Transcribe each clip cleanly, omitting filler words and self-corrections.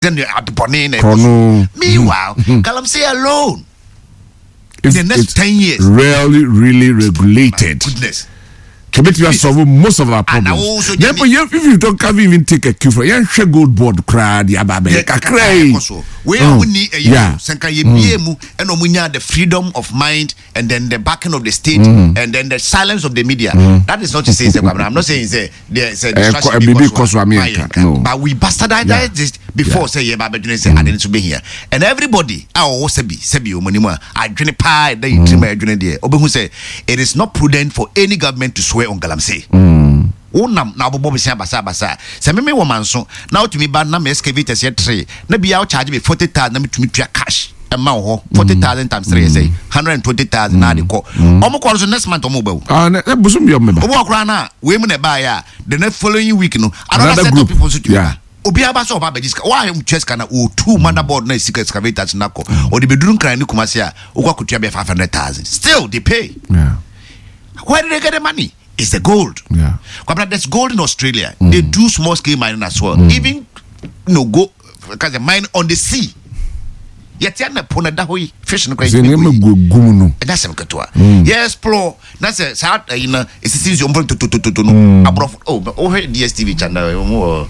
Sɛ adebɔne na ɛkɔ so. Meanwhile, galamsey alone in the next 10 years. Really, really regulated. My goodness. Kebetumi asolve most of our problems. Then, but if you don't can't even take a cue from yɛn hwɛ gold board koraa de aba abɛyɛ kakra yi. Wei a wonni ɛyɛ sɛ nka yɛ bie mu ɛna ɔmo nya the freedom of mind and then the backing of the state and then the silence of the media. That is not to say sɛ Kwabena, I'm not saying sɛ there sɛ distraction bi kɔ so a mayɛ nka, but we bastardized this before sɛ yɛ ba abɛdwene sɛ ade no so bɛhia, and everybody a ɔwɔ sɛbi sɛbi wɔn anim a adwene paa ɛda yɛ tirim a ɛdwene deɛ ɔbɛhu sɛ it is not prudent for any government to swear on galamsey. Wonam na wobobɔ besia basabasa sɛ meme wɔ manso na wotumi ba na me excavators yɛ tere na bia wo charge me 40,000 na metumi tua cash ɛma wɔ hɔ, 40,000 times three yɛ sɛ 120,000 na ade kɔ. Ɔmo kɔ no so next month ɔmo ba o. Ah, ne bosom bi ɔmo ba. Obi wɔ koraa na wei mu na ɛbaayɛ a, the next following week no another set of people nso tumi ba. Obiara ba sɛ ɔba abɛgye sika. Wɔn a tua sika na otu motherboard na esi excavators na kɔ ɔde beduru Nkran ne Kumasi a okɔ akotua bɛyɛ 500,000, still they pay. Where did they get the money? It's the gold. Kwabena, there's gold in Australia. They do small scale mining as well. Even go because the mine on the sea. Yɛte ana po na da hɔ yi fish no kora sɛ nneɛma gu gu mu no. Ɛnyɛ asɛm ketewa. Yɛ explore na sɛ saa ayi na esisi nsuo mpɔ totototo no aborɔfo oh wohwɛ DSTV channel wɔn wɔ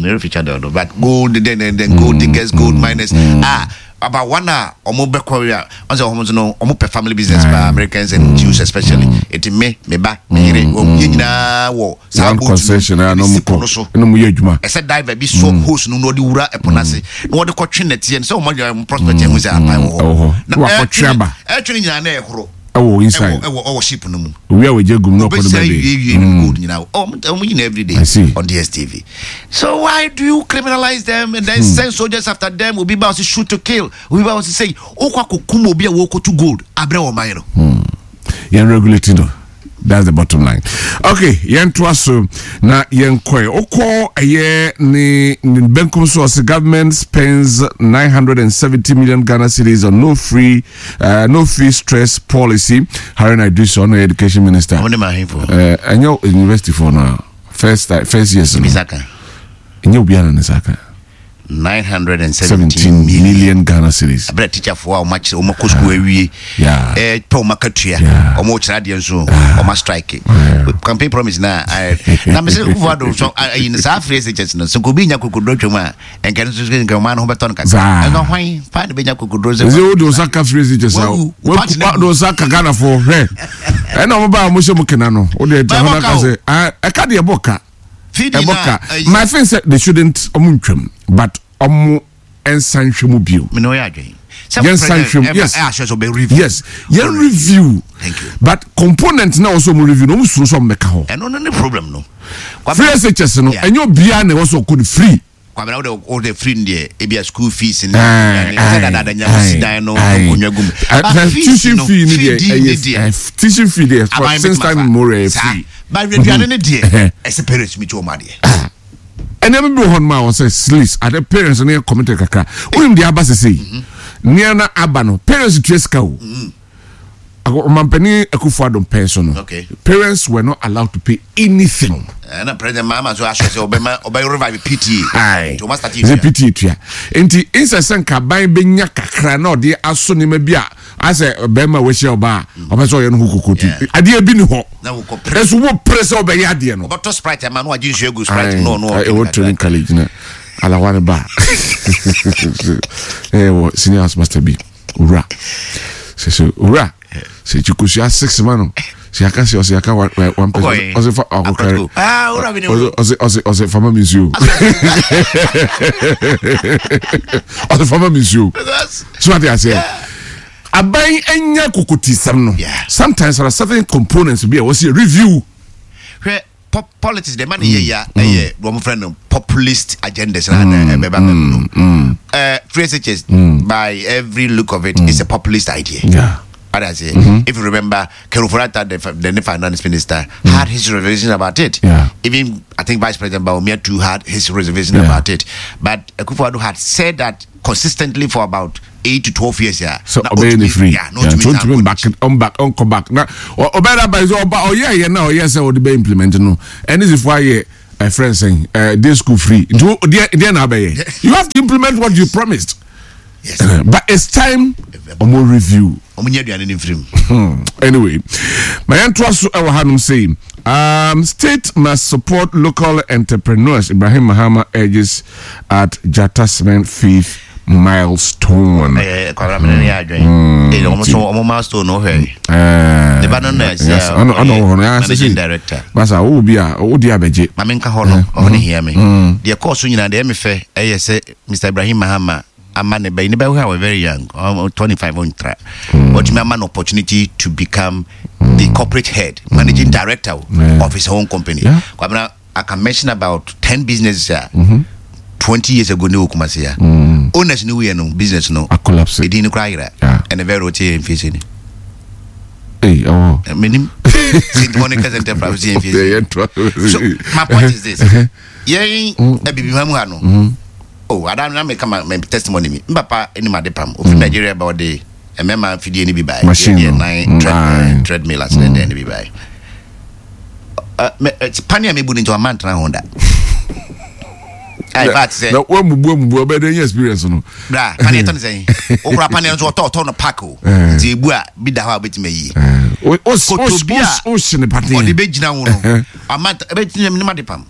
erefi channel no, but gold then gold diggers, gold miners, ah, about one a ɔmo bɛkɔ a ɔn sɛ ɔmo nso no ɔmo pɛ family business paa, Americans and Jews especially. Eti me ba, me yere, wɔn yɛ nyinaa wɔ saa one boat concession a na no ɔmo esi po kɔ no so. Ɛna ɔmo yɛ adwuma. Ɛsɛ diver bi so hose no na ɔde wura ɛpo n'ase na wɔde kɔtwe nɛteɛ no sɛ ɔmo ayɛ ɔmo prospect ɛho sɛ apan wɔ ɛwɔ hɔ. hɔ na Na wakɔtwe ɛtwe aba. Ɛtwe no nyinaa na ɛhoro. Ɛwɔ inside. Ɛwɔ ship no mu. Owi a wɔgye gum na ɔkɔ no Obɛsɛ baabi. wie wie no gold nyinaa ɔmo yi na every day I see. on DSTV. So why do you criminalize them and then send soldiers after them? Obi ba ɔsi shoot to kill, obi ba ɔsi say okɔ akokum obi a wɔkɔtu gold abrɛ wɔn man no. Yɛn regulate no, that's the bottom line. Okay, yɛn to aso na yɛn kɔɛ okɔ ɛyɛ ne benkum so. Ɔsɛ government spends 970 million Ghana cedis on no fee stress policy. Haruna Iddrisu, ɔno yɛ education minister. Ɔmo ne ma ahemfo. Ɛnyɛ university for no first years no. Bisaka. Ɛnyɛ obiara na ne nsa ka. 917 17 million. Million Ghana cedis. Abirɛ teacherfoɔ a wɔn akyerɛ wɔn akɔ sukuu awie pɛ wɔn akatua, wɔn kyerɛ adeɛ nso wɔn strike campaign promise na na mɛ sɛ Akufo Addo so ayi no saa free SHS no so nka obi nya kokoduro twam a nka no nso nka ɔman no ho bɛtɔ no kakra. Saa. Ɛnna hwan paa na bɛnya kokoduro sɛ ɛsɛ wode wo nsa ka free SHS a Wawu. Wo party na wode wo nsa ka Ghanafoɔ hwɛ ɛna ɔmo ba a ɔmo hyɛ mu kena no wode ɛkyɛ Ba, hɔ ɛbɔ no ka ka o. sɛ ah, ɛka deɛ ɛbɔ ka. Feeding ɛbɔ na ka. ayi. My friend said they shouldn't ɔmo ntwam but ɔmo nsa nhwɛ mu bio. Mene ɔyɛ adwene sɛ Yɛn nsa nhwɛ mu, yes. ɛ ahyɛ sɛ ɔbɛ review. Yes, yɛn review. Thank you. But component na wɔsɔ ɔmo review no, ɔmo suro sɛ ɔmo bɛka hɔ. Ɛno no ne problem no. Free SHS no, Yeah. ɛnyɛ obiara na ɛwɔ sɛ ɔkɔ no free. Kwabena, wode free no deɛ, ebia school fees ne Aye, sɛ dadaada nya wosi dan no nkonnwa gu mu. But fees tuition no, fee ni fee deɛ di ne deɛ ɛyɛ tuition fee deɛ for aban since bɛtumi time afa. immemorial ɛyɛ Saa. free. But aduane ne deɛ ɛsɛ parents mi ti wɔn adeɛ. Ɛnneɛma bi wɔ hɔ nom a wɔsɛ slis ade parents no yɛ committed kakra. Wonim deɛ aba sese yi, nneɛma aba no, parents tua sika o. Ɔmampanin Akufo Addo pɛn so no, parents were not allowed to pay anything. Ɛna President Mahama so ahyɛ sɛ ɔbɛma ɔbɛ revive PTA. Aye. Nti ɔma start sɛ tua. PTA tua nti nsɛ sɛ nka aban bɛnya kakra na ɔde aso nneɛma bi a asɛ bɛrima a wahyia ɔbaa a ɔpɛ sɛ ɔyɛ no ho kokoti. Adeɛ bi ni hɔ. Na wokɔ pere. Ɛso wo pere sɛ ɔbɛyɛ adeɛ no. Ɔbɛtɔ Sprite ama no wagye nsuo agu Sprite no ɔno. Ɛwɔ training college na alawa ne ba ɛwɔ senior house master bi owura sɛ owura sɛ kyikosua six ma no sɛ yaka sɛ ɔsɛ yaka one one person. Ɔkɔɛ. Ɔsɛ fa ɔkɔkɛrɛ. Akɔtɔ. Ah, owura bi ne ho. Ɔsɛ fama mi nsuo, ɔsɛ fama mi nsuo. So ate aseɛ, aban anya kokotisɛm no. Sometimes there are certain components bi a wɔsi review. Hwɛ, politics deɛ ma ne yɛ ya ɛyɛ wɔn fɛ no populist agendas na ɛbɛba bɛm no. Free SHS, by every look of it, is a populist idea. What I say, if you remember, Ken Ofori-Atta, the finance minister, had his reservation about it. Even I think Vice President Bawumia too had his reservation about it. But Akufo-Addo had said that consistently for about 8 to 12 years. Yeah. So Na ɔbɛyɛ ne otumi- free. Yeah, na otumi So san ntumi kɔ back n'akyi. ɔmback ɔnkɔ back na ɔbɛyɛ daba yi sɛ ɔba ɔyɛ yɛ na ɔyɛ sɛ ɔde bɛ implement no ɛne sifo ayɛ. ɛfrɛ nsɛn ɛɛ day school free nti wo deɛ deɛ na abɛyɛ you have to implement what you promised. Yes. But it's time ɔmo review. Ɔmo nyɛ aduane ne nfirim. Hmm. Anyway, ma yɛn to aso ɛwɔ hanom sei. Um, state must support local entrepreneurs. Ibrahim Mahama urges at Jata Cement fifth milestone. Eh, kwabra mene ne adwen. Hmm. Eh, ɔmo so ɔmo milestone no hwɛ. Eh, Ne ba no na ɛsɛ. Ɔno ɔno wɔ hɔ no. Managing director. Basa wo bi a wo di abɛgye. Maame nka hɔ no, ɔhɔ ne hia me. Deɛ kɔɔ so nyinaa deɛ ɛmɛ fɛ ɛyɛ sɛ Mr. Ibrahim Mahama ama ne ba yi ne ba who were very young 25 ɔntra watumi ama no opportunity to become the corporate head managing director yeah. of his own company yeah. Kwabena I can mention about 10 businesses a mm -hmm. 20 years ago ne wɔ Kumasi a mm. owners ne wuyɛ no business no ɛdin no koraa yera ɛne very wote yɛ mfie sɛ ni Hey, oh. Menim St. Monica's Enterprise yɛ mfie so my point is this yɛn abibiman mu ha no mm. Oh, ada na meka ma me testimony mi. Mpapa anim ade pam. Ofiri mm. Nigeria ba ɔde mmarima fidie no bi bae. Machine no. Nan mm. tread, eh, treadmill ase mm. dɛn no bi bae. Uh, me, eh, pane a mebu no nti wama ntena ho da. In fact, sɛ. Na wamubu amubu ɔbɛ dɛ nye experience no. Bra, pane ɛtɔ ne sɛn. Okura pane nso ɔtɔ ɔtɔ no pack o. Eh. Nti ebu a bi da hɔ a obetumi ayi. Koto bi a ɔde bɛ gyina ho no. Ama ɛbɛ gyina mu ne ma de pam.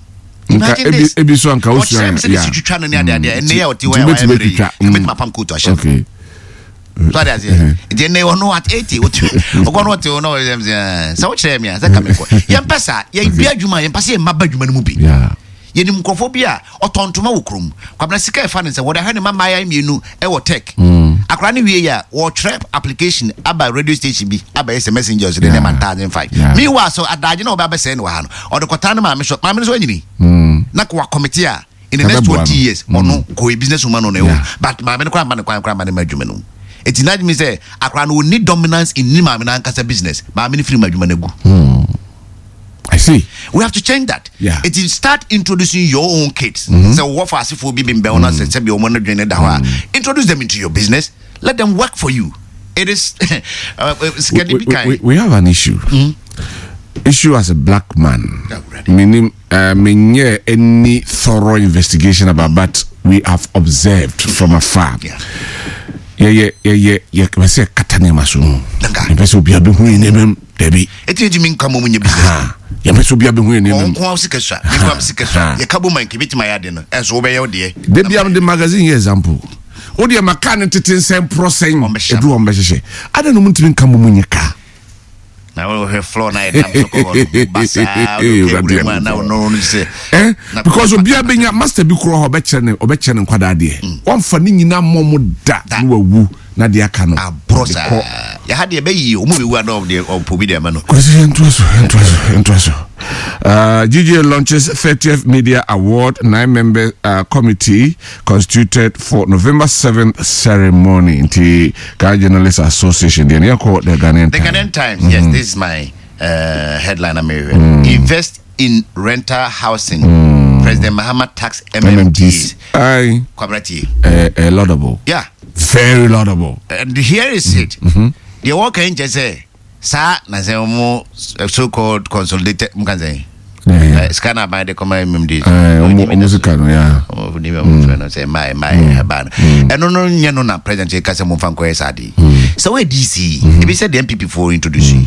Nka ebi ebi so anka osua ɔkyerɛ mi sɛ ne si twitwa no ne ade adeɛ ɛnɛ yɛ ɔte hɔ yɛ wayɛ mmerɛ yi ɛbɛtumi apam kootu ahyɛ okay so ade aseɛ nti ɛnɛ ɔno at 80 ɔte ɔkɔ no ɔte hɔ na ɔyɛ sɛ sɛ wokyerɛ mi a sɛ ka mi kɔ yɛmpɛ saa yɛbi adwuma yɛmpɛ sɛ yɛmma ba adwuma no mu bi yɛnim nkurɔfoɔ bi a ɔtɔn ntoma wɔ kurom kwabena sika ɛfa ne sɛ wɔde ahwɛ ne mma mmaayɛ mmienu ɛwɔ tech mm. akora ne wie yɛ a wɔtwerɛ application aba radio station bi abɛyɛ sɛ messenger so de ne ma 1005 meanwhile so adagye na ɔbɛ abɛsɛe no wɔ ha no ɔde kɔtaa ne maame so maame no so anyini mm. na kɔ akɔmete a in the next 20 years mm. ɔno kɔ business woman no na ɛwɔ but maame no koraa mma ne kwan koraa mma ne ma adwuma no eti na adwuma sɛ akora no ɔni dominance in ne maame no ankasa business maame no firi mu adwuma no agu mm. I see. We have to change that. Yeah. It is start introducing your own kids. Mm-hmm. So what for asifo bi bimbe ona se se bi omo no dwene da hɔ a. Introduce them into your business. Let them work for you. It is we, we, we, we have an issue. Mm-hmm. Issue as a black man. Meaning uh, menyɛ any thorough investigation about but we have observed from afar. Yeah. yɛyɛ yɛyɛ yɛpɛ sɛ kata nneɛma so yɛpɛ sɛ obiara bɛhu yɛ nneɛma mu dabi ɛtumi ntumi nka mmom nyɛ business yɛpɛ sɛ obiara bɛhu yɛ nneɛma mu ɔnko a sika sua me nko a sika sua yɛka bom a nka ebɛtumi ayɛ ade no ɛnso wobɛyɛ wo deɛ da bia mede magazine yɛ example wodeɛ ma kaa no tete nsɛn porɔ sɛn ɛduru wɔn bɛhyehyɛ adɛn na ɔmo ntumi nka mmom nyɛ kaa na wohwɛ floor na yɛnam so kɔ hɔ no basaa wode mu a na wono no sɛ eh because obiara bɛnya master bi korɔ hɔ ɔbɛkyerɛ ne ɔbɛkyerɛ ne nkwadaa deɛ mm. wɔmfa ne nyinaa mmɔ mo da na wawu na deɛ aka no aborɔ saa yɛha deɛ bɛyi ɔmu bɛwu ana ɔdeɛ ɔpɔ bi deɛ ama no kwasi yɛntoa so yɛntoa so yɛntoa so Uh, GGA launches 30th Media Award, nine member uh, committee constituted for November 7th ceremony. Nti Ghana Journalists Association. The the Ghanaian The Ghanaian Times, mm-hmm. yes, this is my uh, headline. I'm mm. Invest in rental housing. Mm. President Mahama tax MMDs. Aye. Kwabrati. Uh, uh, laudable. Yeah. Very laudable. And here is it. Mm-hmm. The work can just say, saa na sɛ ɔmo so called consolidated mo kan sɛ sika na aban de kɔma mmd ɔmo sika no ya ɔmo de ɔmo fɛ no sɛ mmaa mmaa ɛba no ɛno no nyɛ no na president ka sɛ mo nfa nkɔyɛ saa de sɛ wɔyɛ dc ebi sɛ deɛ npp foɔ introduce yi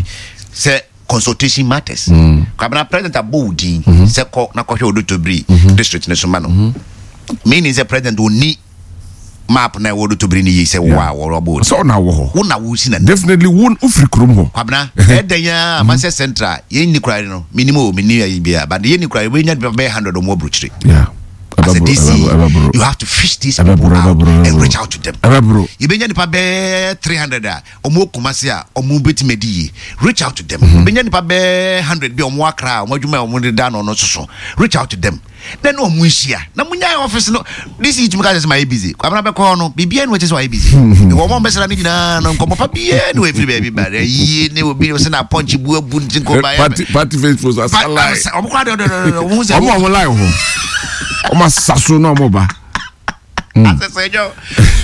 sɛ consultation matters kwabena president abɔ wo din sɛ kɔ na kɔhwɛ odotobiri district ne so ma no meaning sɛ president onni map na ɛwɔ odotobiri no yie sɛ wo a wɔabɔ wo sɛ ɔna wɔ hɔ wo na wosi na definitely wo wofiri kurom hɔ kwabena ɛdɛn a ma sɛ central yɛnni kora no menim o menni ayi bia but yɛnni kora yɛbɛnya bɛyɛ 100 ɔmo aburokyire yeah. As a DC, you have to fish these people out and reach out to them. Yɛbɛnya nipa bɛɛ 300 a ɔmo Kumasi a ɔmo bɛtumi adi yie. Reach out to them. Yɛbɛnya nipa bɛɛ 100 bi a ɔmo Accra a ɔmo adwuma a ɔmo de da no no soso. Reach out to them. Na ne ɔmo nhyia. Na mo nya office no. DC tumi ka sɛ mayɛ busy. Kwabena bɛkɔ hɔ no, biribiara ni wɔkyɛ sɛ wayɛ busy. Wɔn a wɔbɛsra no nyinaa no nkɔmmɔ pa biara ni wɔafiri baabi ba. Ayie ne obi sɛ na apɔnkye bu abu nti nkɔ ba. Party party faithful asa line. Ɔmo kora de ɔde ɔde ɔmo sɛ. Ɔmo ɔmo line ho. Ɔmo asa so na ɔmo ba. Asɛ sɛ ɛnyɛ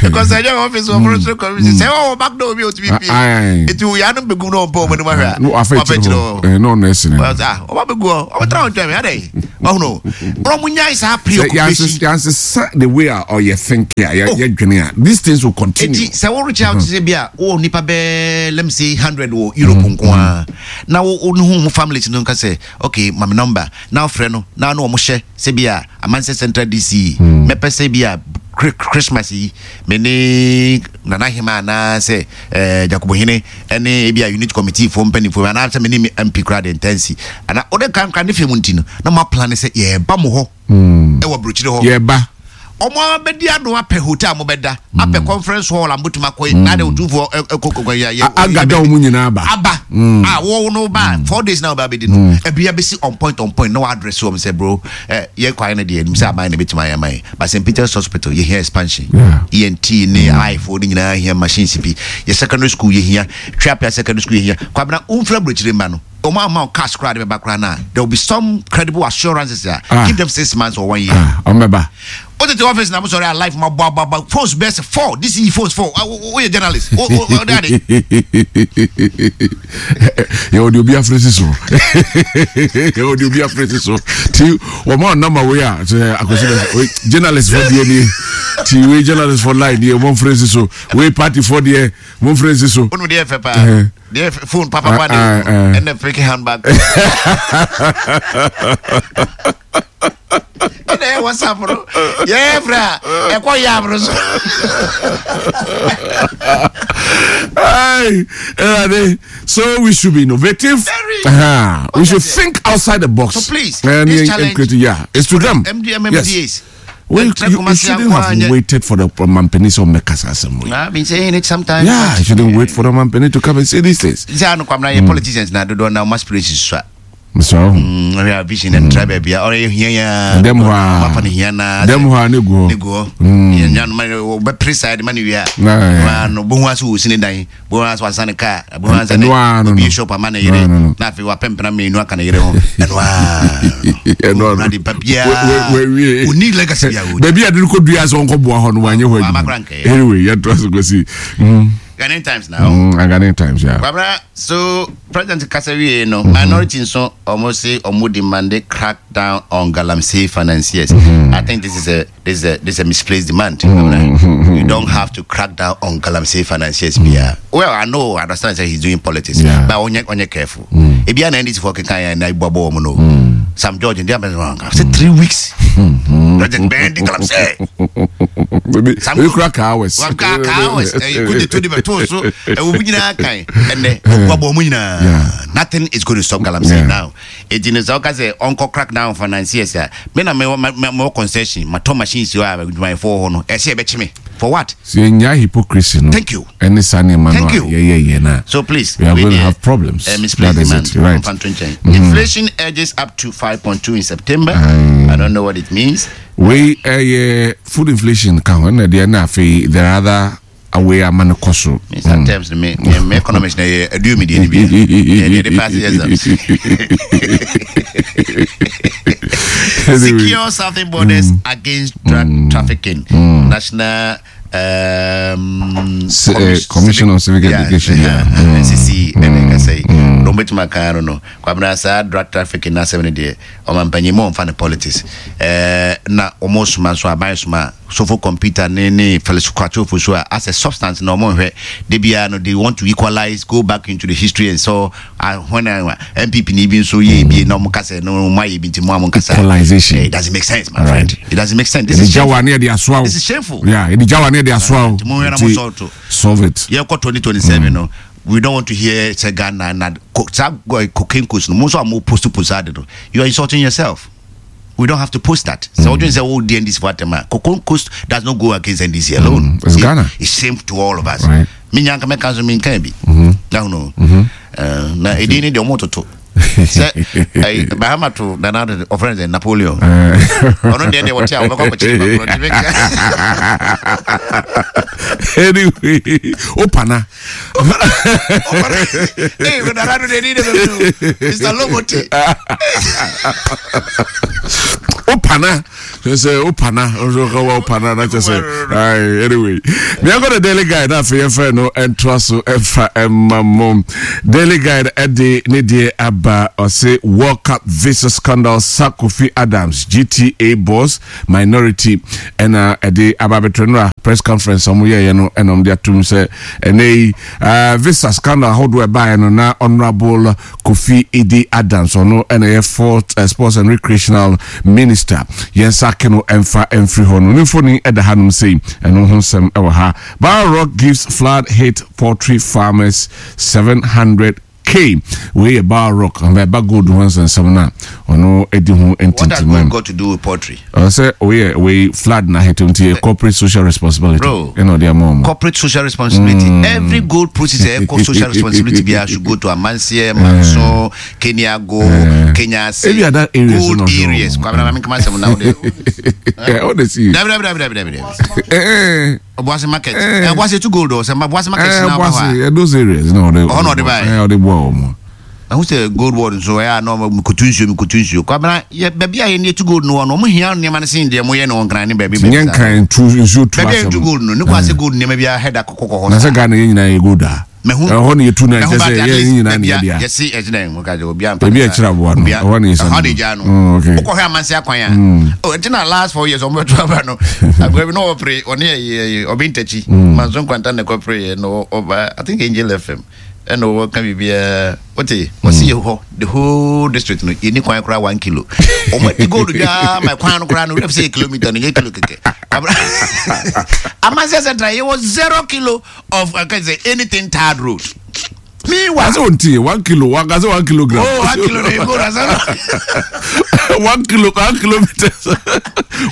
because ɛnyɛ office wɔ forestry commission sɛ ɔwɔ back door bi otumi pie eti wo yanom bɛgum na ɔmpɛ ɔmo anim ahwɛ a wafa akyire hɔ na ɔno ɛsene ɔba bɛgu hɔ ɔbɛtra wo ntwɛn adɛn ɔhono ɔmo nyae saa preoccupation yansesa the way a ɔyɛ think a yɛdwene a these things will continue. Eti sɛ wo reach out sɛ bi a wowɔ nipa bɛɛ let me say 100 wɔ Europe nko a na wo ne ho ho families no nka sɛ okay ma me number na wofrɛ no na ne ɔmo hyɛ sɛ bi a Amansɛ Central DC mɛpɛ sɛ bi a Christmas yi me ne Nana Hema anaasɛ eh, Jacobo Hene ne ebi a unit committee foɔ mpanimfoɔ anaasɛ me ne me MP koraa de ntansi ana wode nkankra ne fɛ mu nti no na mo aplan sɛ yɛreba mo hɔ ɛwɔ aburokyire hɔ. Yɛreba. Ɔmo abɛdi ano apɛ hotel a mobɛda apɛ conference hall a mobɛtumi akɔ na de otumfoɔ ɛkɔ kɔkɔ yɛ yɛ agada wɔn nyinaa aba aba a wɔn no ba 4 days na wɔba abɛdi no ɛbi abɛsi on point, on point na wɔ address wɔn sɛ bro, ɛ yɛ kwan no deɛ nim sɛ aban na ebɛtumi ayɛ ama yɛ, but St Peter's Hospital yɛhia expansion, ENT ne eye foɔ ne nyinaa hia machines bi, yɛ secondary school yɛhia, Tweapea secondary school yɛhia. Kwabena womfira aburokyire mma no, wɔn ama wo cash koraa de bɛba koraa na there will be some credible assurances a give them 6 months or one year. Ɔmbɛba. O tete office na mo sɔrɔ a life ma bɔ aba phones bɛɛ sɛ four this is phones four o yɛ journalist o o o de ade. Yɛwɔ de obi afere si so, yɛwɔ de obi afere si so ti wɔn a nama wei a sɛ akwasi bɛ wei journalist fɔ deɛ nie ti wei journalist fɔ line deɛ wɔn afere si so, wei party fɔ deɛ wɔn afere si so. O nu deɛ fɛ paa deɛ phone papa pa de ɛnna freaky handbag ɛna ɛyɛ WhatsApp no yɛyɛ frɛ a ɛkɔ yɛ aboro so. Hey, Erade, so we should be innovative. Very. We should think outside the box. So please, and, this and challenge create, yeah, it's to them. MD, Yes. MMDAs. Well, you shouldn't have waited for the Mampeni to make us assembly. I've been saying it sometimes. Yeah, you shouldn't wait for the Mampeni to come and say these things. Sɛ ano kwamna yɛ politicians na dodoɔ na ɔma aspirations so a So, ɔhwɛ a vision and try baabi a ɔyɛ hia ya. Dɛm hɔ a. Ɔmafa no hia na Dɛm hɔ a ne gu hɔ. Ne gu hɔ. Yɛnya no ma wɔbɛpere saa de ma no wie a Na, no bohu ase wɔ sini dan, bohu ase wasa ne kaa, bohu ase ne Ɛno ara no obi no. shop ama ne yere No, no, no. na afei wapɛ mpena mmienu aka ne yere ho. Ɛno ara Ɛno ara. no ade pa biara We- we- we- ɔni legacy biara wɔ Baabi a de no kɔ dua sɛ ɔnkɔboa hɔ no wanyɛ hɔ Wama adwuma. koraa nkɛyɛ. Anyway, yɛntoa so kɔsi. Ghanaian Times now. Ghanaian Times, yeah. Kwabra, so President kasa wie no, minority nso ɔmo se ɔmo demand crack down on galamsey financiers. I think this is a misplaced demand. Kwabra. You don't have to crack down on galamsey financiers. Bia. Well, I know, I understand that he's doing politics, but onye careful. Ebi ana NDC for keka ya na ibu abo omo no. Sam George ndi abɛ say 3 weeks. President Ben di galamsey. Maybe Sam maybe crack hours. Waka hours. Kude to di bɛto so. Ɛwɔ mu nyinaa kan. Ɛnɛ ɔbɔ mu nyinaa. Nothing is going to stop galamsey now. Eti ne sɛ ɔka sɛ ɔnkɔ crack down financiers a, me na mewɔ mewɔ concession, matɔ machines hɔ a adwumayɛfoɔ wɔ hɔ no, ɛsɛ yɛbɛkye me. For what? So yɛnya hypocrisy no. Thank you. Ɛne saa nneɛma no Thank a you. yɛyɛ yɛ no a. So please, We are we going to deɛ, have problems. Misplaced That is demand. it. Right. Ɔmfa nto nkyɛn. Inflation edges up to 5.2 in September. I don't know what it means. Wei ɛyɛ food inflation ka ho ɛna deɛ na afei there are other away ama no kɔ so. Mr. Terms me economics na yɛ aduo mi deɛ ni bi. Yɛ deɛ de pass exams. Anyway. Secure southern borders against drug trafficking. National Commission on Civic Education, yeah. NCC ɛna ɛka sɛ na ɔmbɛtumi aka no Kwabena saa drug trafficking na asɛm no deɛ ɔmampanyin mu ɔmfa ne politics na ɔmo soma nso aban soma sofo computer ne Felix Kwakye so a as a substance na ɔmo nhwɛ de biara no, they want to equalize, go back into the history and so when NPP ni bi nso yɛ ebie na ɔmo kasa no ɔmo ayɛ bi nti mo a mo nkasa. Equalization. It doesn't make sense, my All friend. right. It doesn't make sense. This Yɛde is gya shameful. wa ne yɛde asoa wo. This is shameful. Yeah, yɛde gya wa ne yɛde asoa wo. Nti mo nhwɛ na mo Nti, solve to. Solve it. Yɛkɔ 2027 no, we don't want to hear sɛ Ghana na saa cocaine coast no, mo nso a mo post ade no, you are insulting yourself. We don't have to post that. So wodwen sɛ wodi NDC for atɛm a, cocaine coast does not go against NDC alone. It's Ghana. It's shame to all of us. Right. Menya nka mɛka nso menka bi na hono na ɛdin ne deɛ ɔmo toto. Sɛ ɛyi Mahama to Nana Addo ɔfrɛ no sɛ Napoleon. Ɔno deɛ deɛ wɔte a wɔbɛkɔ akɔkyere nipa korɔ nti meka. Anyway, opana. Opana. Opana. Ee Nana Addo deɛ ni de bɛ mi o. Mr. Lomote. Opana. Kyerɛ sɛ wopana wo pana na kyerɛ sɛ anyway meɛnkɔ the daily guide na afei yɛmfrɛ no ɛntoa so ɛmfa ɛma mo daily guide ɛde ne deɛ aba ɔse world cup visa scandal sa kofi adams gta boss minority ɛna ɛde aba abɛtɔ no a press conference ɔmo yɛyɛ no ɛna ɔmo de atum sɛ ɛnɛ yi visa scandal ahodoɔ ɛbaeɛ no na honorable Kofi Iddi Adams, ɔno na ɛyɛ Fort eh, Sports and Recreational Minister. Yɛn nsa ake no ɛmfa ɛmfiri hɔ no. Ne mfoni ɛda hanom sei, ɛno ho nsɛm ɛwɔ ha. Barrel Rock gives flood hit poultry farmers 700 K. Wei yɛ Barrel Rock, ɛba gold ho nsɛnsɛm no a ɔno ɛdi ho What does gold got to do with poultry? Ɔsɛ oyɛ wei flood na ahete nti yɛ corporate social responsibility. Bro, ɛna ɔde ama ɔmo. Corporate social responsibility. Mm. Every gold process ɛkɔ social responsibility biara should go to Amansie, Manso, mm. Keniago, mm. Kenyasi. Ebi ada areas gold areas. Kwabena maame nkama asɛm na ɔde. Ɔde si. Dabi dabi dabi dabi dabi. Obuasi market. Obuasi tu gold o sɛ Obuasi market na ɔba hɔ a. Those areas na ɔde. Ɔhɔ na ɔde ba yɛ. Ɔde boa wɔn. Ɛho sɛ gold board nso ɛyɛ a na ɔmo mikotu nsuo mikotu nsuo. Kwabena yɛ baabi a yɛn yɛtu gold no wɔ no ɔmo hia nneɛma no sen deɛ mo yɛ no wɔ Nkran ne baabi baabi saa. Nyɛ Nkran tu nsuo tu asɛm. Baabi a yɛtu gold no ne kwan sɛ gold nneɛma bi ahɛda kɔkɔ hɔ saa. Na sɛ Ghana yɛn nyinaa yɛ gold a. Mehu. Ɛhɔ na yɛtu no ɛkyɛ sɛ yɛ nyinaa ne yɛde a. Yɛsi ɛgyina yɛn mu ka sɛ obi ampa. Ebi ɛkyerɛ aboa no ɛhɔ na yɛsi. Ɛhɔ na egya no. Wokɔhwɛ amansi akwan a. Oh ɛnti na last 4 years ɔmo bɛto aba no. Agorɔ bi na ɔpere ɔne ɛyɛ ɔbi ntakyi. Manso nkwanta na ɛkɔpere yɛ no ɔba I think Angel FM ɛna ɔka biribiara wote ɔsi yɛ hɔ the whole district no yɛni kwan koraa 1 kilo. Ɔmo adi gold dwaa ma kwan no koraa no wura fi sɛ yɛ kilometer no yɛ kilo kɛkɛ. Amansi Central yɛwɔ 0 kilo. of uh, can say anything tarred road. Meanwhile, I say 1 kilo, one, I say 1 kilogram. Oh, 1 kilo, you go, 1 kilo, 1 kilometer,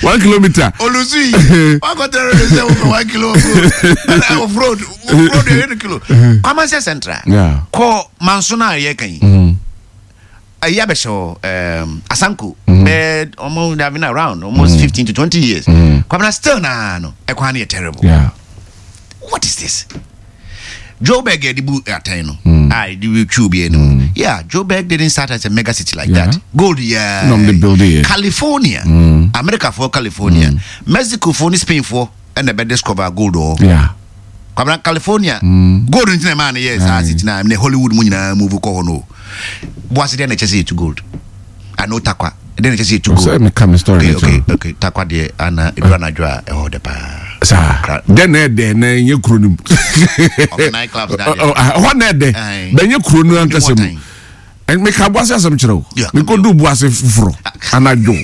1 kilometer. Olusi, one got there say 1 kilo of road, road 1 kilo. Kwamanse Central. Yeah. Ko Mansona ye kan. Ayi abɛhyɛ hɔ um, Asanko. Bɛɛ almost they have been around almost 15 to 20 years. Kwabena still na no. Ɛkwan no yɛ terrible. Yeah. What is this? Joburg yɛde bu atɛn no a yɛde twi obi anim. Yeah, Joburg didn't start as a mega city like that. Gold yeah. No, they build it. California, America for California, Mexico for ne Spain for ɛna ɛbɛ discover gold wɔ. Yeah. Kwabena California gold ntina ɛmaa no yɛ saa city na ne Hollywood mu nyinaa move kɔ hɔ no. Boase deɛ na ɛkyɛ sɛ yɛtu gold. I know Takwa. Deɛ na ɛkyɛ sɛ yɛtu gold. Sɛ meka me story okay, okay, okay. Takwa deɛ ana ɛduru anadwo a ɛhɔ dɛ paa. Saa. Dɛ na ɛdɛ na ɛnyɛ kuro no mu. Ɔmo night clubs na deɛ. Hɔ na ɛdɛ. Bɛnyɛ kuro no ankasa mu. Meka Boase asɛm kyerɛ wo. Mekɔdu Boase foforɔ anadwo.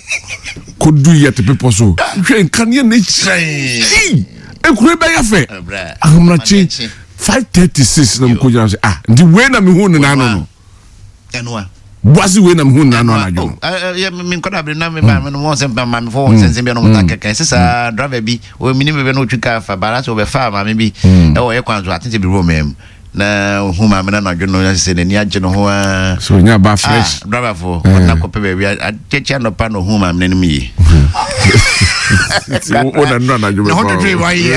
Kɔdu yɛ te bepɔ so. Hwɛ nkanea na ɛhyerɛn. Ekuro bɛyɛ fɛ. Ahomakye 5:36 na mekɔgyina sɛ ah nti wei na mehu ne n'ano no. Boase wei na mehu ne n'ano anadwo no. Menkɔda bere na meba me no wɔn sɛ maamefo wɔn sɛnsɛn bi na wɔn ta kɛkɛ ɛsɛ saa driver bi wɔ mini bɛbɛ na otwi kaa fa baara sɛ ɔbɛfa maame bi ɛwɔ yɛ kwan so atete bi wɔ mɛm na ohun maame no anadwo no sɛ n'ani agye ne ho aa. So onya ba fresh. Ah, driver fo ɔna kɔpɛ baabi akyɛkyɛ anɔpa na ohun maame no anim yie. Wo na nnura anadwo bɛfa. Ne ho twetwe wa yie.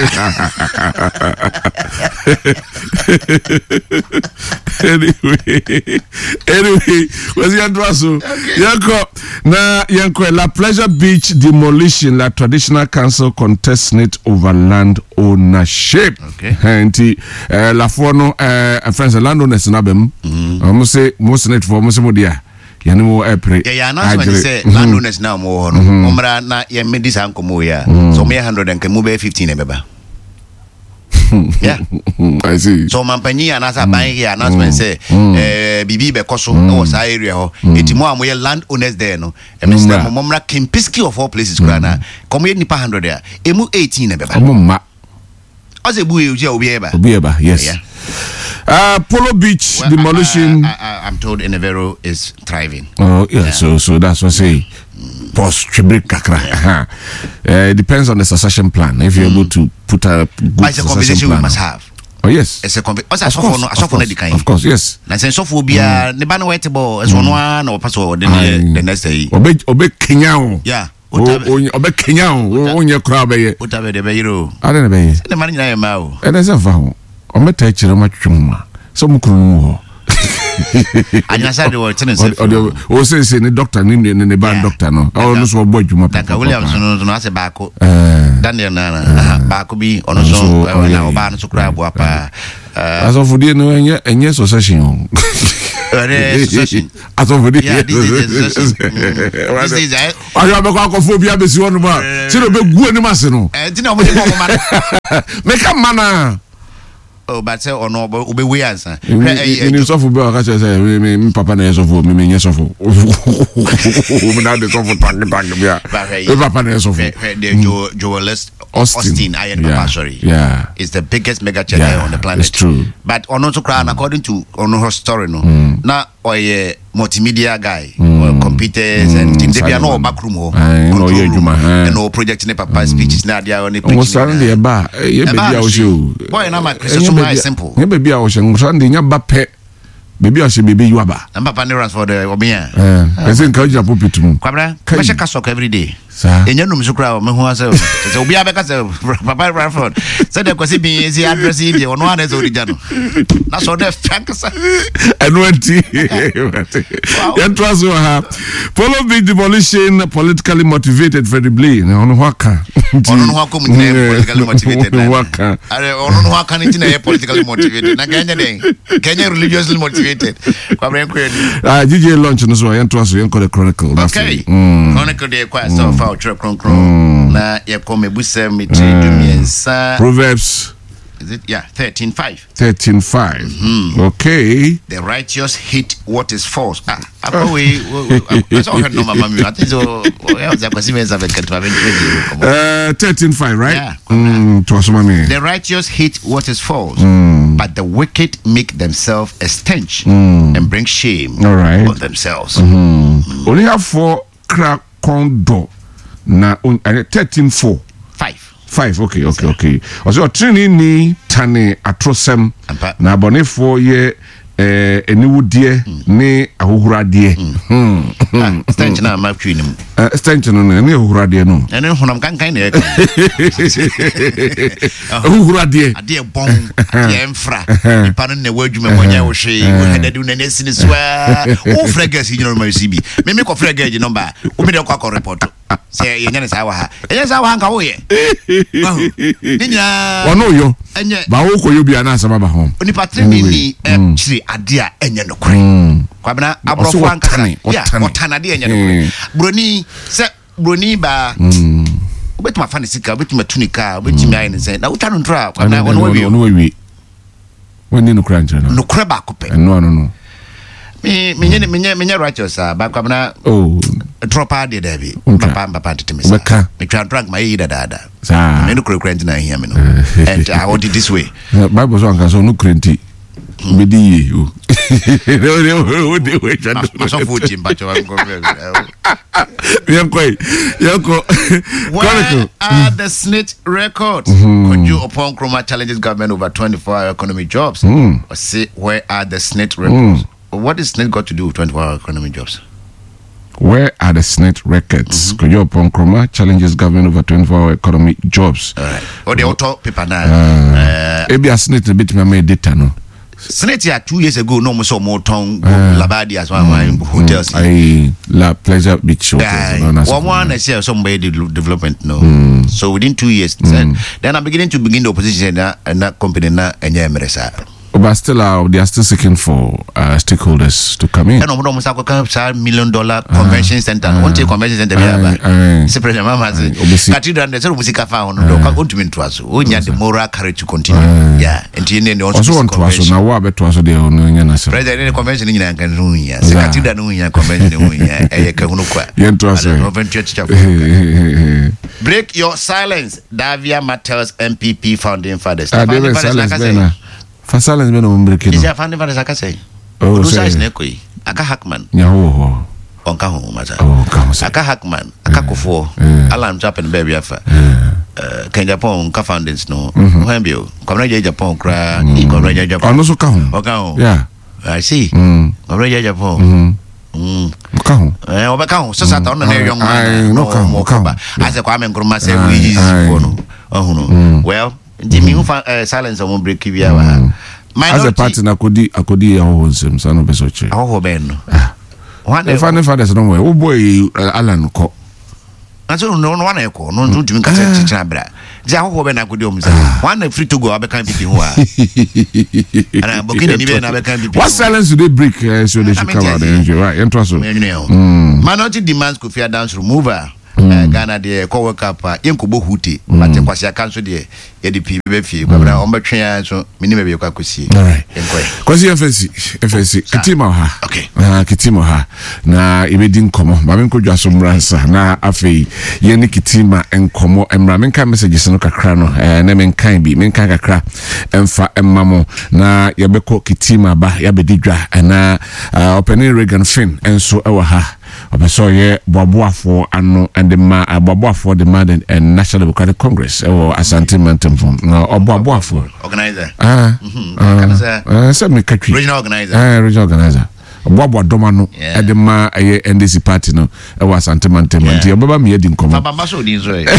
Anyway, kwasi yɛn to aso yɛn kɔ na yɛn kɔ La Pleasure Beach demolition La Traditional Council contest it over land ownership. Okay. Nti lafoɔ no ɛfɛn sɛ landowners no aba mu. Wɔn se mo senate foɔ mo se mo deɛ yɛne mo ɛpere. Yɛyɛ announcement sɛ landowners na wɔn wɔ hɔ no wɔn mmra na yɛn mmedi saa nkɔmɔ yi a sɛ wɔn yɛ 100 nka mu bɛyɛ 15 na ɛbɛba. Yeah. I see. So ɔmampanyin anaasɛ aban yɛ announcement sɛ biribi bɛkɔ so wɔ saa area hɔ. Eti mo a moyɛ land owners there no, ɛmɛsrɛ mo mommra Kempiski of all places koraa na kɔm yɛ nipa 100 a emu 18 na ɛbɛba. Ɔmo mma. Ɔsɛ ebu yɛ obi yɛ ba. Obi yɛ ba, yes. Yeah. Polo Beach well, demolition. I'm told Enevero is thriving. Oh yeah, yeah. So that's what I say. Pause tribute kakra. Yeah. It depends on the succession plan. If you're able to put a good But it's a succession conversation plan, we must have. Oh yes. Ɛsɛ kɔnfɛ ɔsɛ asɔfoɔ no asɔfoɔ no adi kan. Of course yes. Na sɛ sɔfoɔ biara ne ba no wɔte bɔ ɛsɛ ɔno ara na ɔpɛ sɛ ɔde ne yɛ the next yi. Ɔbɛ ɔbɛ kenya o. Yeah. Ɔbɛ kenya o onyɛ koraa ɔbɛyɛ. Ota bɛ de bɛyere o. Ade na bɛyɛ. Sɛ ne ma no nyinaa yɛ mmaa o. Ɛnɛ sɛ nfa ho ɔmɛ ta akyire ɔmɛ atwitwi ho ma sɛ ɔmo kunu no mu hɔ. Anyinasa de wɔte ne nsa fi. Ɔde ɔsese ne doctor ne ne ne ba doctor no ɔno nso ɔbɔ adwuma papa. Duncan Williams no no asɛ baako. Daniel nana baako bi ɔno nso na ɔbaa no so koraa aboa paa. Asɔfodie no ɛnyɛ ɛnyɛ succession o. Ɛyɛ succession. Asɔfodie yɛ succession. Ahwɛ abɛkɔ akɔfo obi abɛsi hɔ nom a sɛ ɔbɛgu anim ase no. Ɛnti na ɔmo de bɔ ɔmo ma no. Meka mma naa. Oh, but sɛ ɔno ɔbɛwei ansa. Hwɛ ɛyi ɛyi. Sɔfo bi a ɔka kyerɛ sɛ mi mi mi papa na yɛ sɔfo mi mi nyɛ sɔfo. Mi na de sɔfo tank tank bi a. Mi papa na yɛ sɔfo. Hwɛ de Joel Austin ayɛ ne papa asɔre. Yeah. It's the biggest mega church yeah, on the planet. It's true. But ɔno nso koraa according to ɔno her story no. Na ɔyɛ multimedia guy mm. computers and things ebi ano ɔba kurom hɔ control room ɛna ɔ project ne papa speeches ne adeɛ ne preaching nwosra no deɛ ɛba ɛyɛ baabi a wɔhyɛ o boy na ma kristo so ma simple ɛyɛ baabi a wɔhyɛ nwosra no deɛ nya ba pɛ baabi a wɔhyɛ baabi yi waba na papa ne ransford ɔbea ɛsɛ nka wogyina pulpit mu kwabra mɛhyɛ kasɔk every day Saa. Ɛnya num so koraa mehu asɛ sɛ obiara bɛka sɛ papa Rutherford sɛdeɛ Kwasi Bin si address yi deɛ ɔno ara na ɛsɛ ɔde gya no na sɛ ɔdɛ fɛ ankasa. Ɛno nti yɛntoa so wɔ ha Polo Beach demolition politically motivated Freddie Blay na ɔno ho aka. Ɔno no ho akɔ mu nyinaa yɛ politically motivated. Ɔno ho aka. Ɔno no ho aka no nti na ɛyɛ politically motivated na kɛnyɛ dɛn kɛnyɛ religiously motivated. Kwabena nkɔ yɛ ni. Ah, GJ launch no so yɛn to aso yɛn kɔ the chronicle. Okay. Mm. Chronicle de kɔ asɛ ɔfa mm. ɔtwerɛ kronkron mm. na yɛkɔ mebusɛm metiri mm. dumiɛnsa. Proverbs. Is it yeah 13:5. 13:5. Mm-hmm. Okay. The righteous hate what is false. Ah, akɔ wei asɛ ɔhwɛ no mama mi. I think so. Yeah, ɔsɛ akwasi mɛnsa bɛ kɛtɛ bɛ 13:5, right? Yeah. To aso mami. The righteous hate what is false, but the wicked make themselves a stench and bring shame All right. on themselves. Onihafoɔ kra kɔn dɔ na 13:4. 5. 5 okay okay okay ɔsɛ ɔteneneeni tane atorosɛm na abɔnefoɔ yɛ eh, aniwudeɛ mm. ne ahohoradeɛ mm. hmm. ah, stench na ama twi no mu eh, stench no no ɛne ahohoradeɛ no ɛne honam kankan na ɛka ahohoradeɛ adeɛ bɔn adeɛ mfra nipa no na ɛwɔ adwuma mu ɔnyɛ wo hwee wohwɛ dade wo nani asi ne so a wofrɛ gas yi nyina no ma si bi meme kɔfrɛ gage nɔmba a womede ɔkɔ akɔ report sɛ yɛnyɛ ne saa wɔ ha ɛnyɛ saa wɔ ha nka woyɛ ne nyinaa ɔno yɔ ɛnyɛ ba wokɔ yɔ bia na asɛm aba ho onipa tirinwi ni mm. ɛkyiri adeɛ a ɛnyɛ nokorɛ mm. Kwabena aborɔfo ankasa ya ɔtan adeɛ ɛnyɛ nokorɛ mm. Buroni sɛ buroni baa wobɛtumi afa ne sika wobɛtumi atu ne kaa wobɛtumi ayɛ ne sɛ na wotwa no ntorɔ a Kwabena ɔno wawie Wɔnni nokorɛ ankyerɛ no. Nokorɛ baako pɛ. Ɛno ano no. Me menyɛ menyɛ menyɛ righteous saa ba kwabena. Oh. Torɔ paa deɛ daabi. Ntwa. Papa papa tete me saa. Bɛka. Metwa ntorɔ anka ma yɛ yi dadaada. Saa. Me nokorɛ kura nti na ahia me no. And I want it this way. Bible so anka sɛ ɔno kura nti. Bɛdi yie o. Masɔfo tie mpakyɛ wa nkɔ. Yɛnkɔ yi. Yɛnkɔ. Where are the SSNIT records? Mm-hmm. Kojo Oppong Nkrumah challenges government over 24-hour economy jobs. Say, where are the SSNIT records? What is SSNIT got to do with 24-hour economy jobs? Where are the SSNIT records? Kojo Oppong Nkrumah challenges government over 24-hour economy jobs. All right. Oh, the auto paper now. Ebi a SSNIT na betumi ama data no. SSNIT a 2 years ago no mo so mo tɔn Labadi as one hotels. Ayi La Pleasure Beach Hotel. Wɔn mo ana sɛ sɛ mo bɛyɛ development no. So within 2 years then I'm beginning to begin the opposition na na company na ɛnyɛ mmerɛ saa. But still, they are still seeking for stakeholders to come in. Ɛna ɔmo de ɔmo sa akɔka saa $1 million convention center no. Wɔn ti convention center bi aba. Sɛ President Mahama se cathedral no sɛ ɔmo sika fa ho no de ɔka ɔntumi ntoa so. Ɔnya the moral courage to continue. Yeah, nti ne ne ɔnso Ɔso wɔn toa so na wo a bɛtoa so deɛ ɔno nyɛ n'asɛm. President ne convention no nyinaa nka ne ho hia. Sɛ cathedral no ho hia, convention no ho hia. Ɛyɛ kahunu kwa. Yɛn toa so. Ɔfɛn tua teacher fo. Break your silence. Dafeamekpor tells NPP founding fathers. Ah, founding fathers na kasa yi. Fa silence bɛ na ɔmo break no. Isi founding fathers akasa yi. Oh, Odu size na ɛkɔ yi. Aka Hackman. Nyaho wɔ hɔ. Ɔnka ho masa. Oh, ɔnka ho sɛ. Aka Hackman, aka Kofoɔ. Alan nso apɛ ne baabi afa. Eh, Ken Agyapong nka foundings no ho. Mm-hmm. Hwan bio? Kwabena Agyei Agyapong koraa. Mm. Kwabena Agyei Agyapong. Ɔno nso ka ho. Ɔka ho. Yeah. I see. Mm. Kwabena Agyei Agyapong. Mm-hmm. Mm. Ɔka ho. Eh, ɔbɛka ho. Sɛ sata ɔno na ɛyɛ young man. No, ɔka ho. Ɔka ho. Asɛ Kwame Nkrumah sɛ woyi foɔ no. Ɔhu no. Mm. Well, nti mi hu fa eh, silence ɔmo break bi awa ha. Mm. Minority. Asɛ party na akodi akodi ahɔho nsɛm saa na ɔbɛ sɛ ɔkyerɛ. Ahɔho bɛn no. Ah. Ɛfa ne fathers no wɔ wobɔ yi Alan kɔ. Na sɛ ɔno ɔno wana ɛkɔ ɔno nso ntumi nkasa ah. kyekyere abira gye ahɔhoɔ bɛ na akɔdi ɔmo sɛ ah. wɔn na firi Togo a wabɛka npp ho a ana Burkina ni bɛ na abɛka npp ho. What silence do they break uh, so they should come out and right yɛn to aso. Minority demands Kofi Adams removal. Mm. Uh, Ghana deɛ ɛkɔ World Cup a yɛnkɔbɔ hute mm. but Kwasi aka nso deɛ yɛde pii bɛbɛ fie kwabena mm. ɔmbɛtwe ya nso menim baabi yɛkɔ akɔsie yɛnkɔɛ Kwasi FSC FSC kitima wɔ ha okay. uh, kitima wɔ ha na yɛbɛdi nkɔmmɔ ma menkɔ dwa so mmra nsa na afei yɛne kitima nkɔmmɔ mmra menka messages no kakra no eh, na menkan bi menkan kakra ɛmfa mma mo na yɛbɛkɔ kitima ba yɛabɛdi dwa ɛna uh, ɔpanin Reagan Finn nso ɛwɔ ha Ɔpɛ sɛ ɔyɛ boaboafoɔ ano de ma boaboafoɔ de ma the National Democratic Congress ɛwɔ Asante mantam fam. Na ɔboaboafoɔ. Organizer. Ah, mm-hmm. ah, ah, sɛ meka twi. Regional organizer. Ah, regional organizer. Ɔboaboa dɔm ano ɛde ma ɛyɛ NDC party no ɛwɔ Asante mantam. Nti ɔbɛba mi adi nkɔmɔ. Bamba so odi nso yɛ.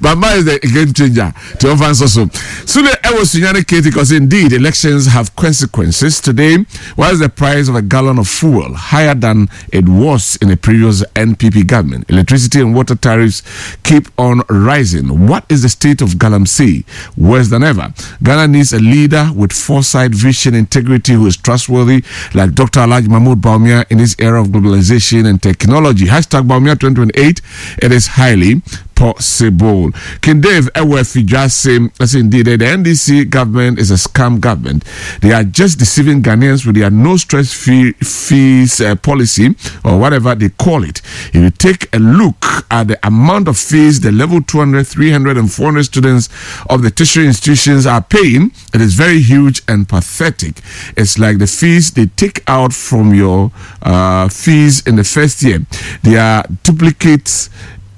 Bamba is the game changer. Ti ɔmfa nso so. Sule ɛwɔ Sunyani Katie because indeed elections have consequences today. Why is the price of a gallon of fuel higher than it was in the previous NPP government? Electricity and water tariffs keep on rising. What is the state of Galamsey? Worse than ever. Ghana needs a leader with foresight, vision, integrity who is trustworthy, like Dr. Alhaji Mahmoud Bawumia in this era of globalization and technology. Hashtag Bawumia 2028. It is highly possible. King Dave ɛwɔ Afidwase ɛsɛ indeed the NDC government is a scam government. They are just deceiving Ghanaians with their no stress fee, fees uh, policy or whatever they call it. If you take a look at the amount of fees the level 200, 300, and 400 students of the tertiary institutions are paying, it is very huge and pathetic. It's like the fees they take out from your uh, fees in the first year. They are duplicates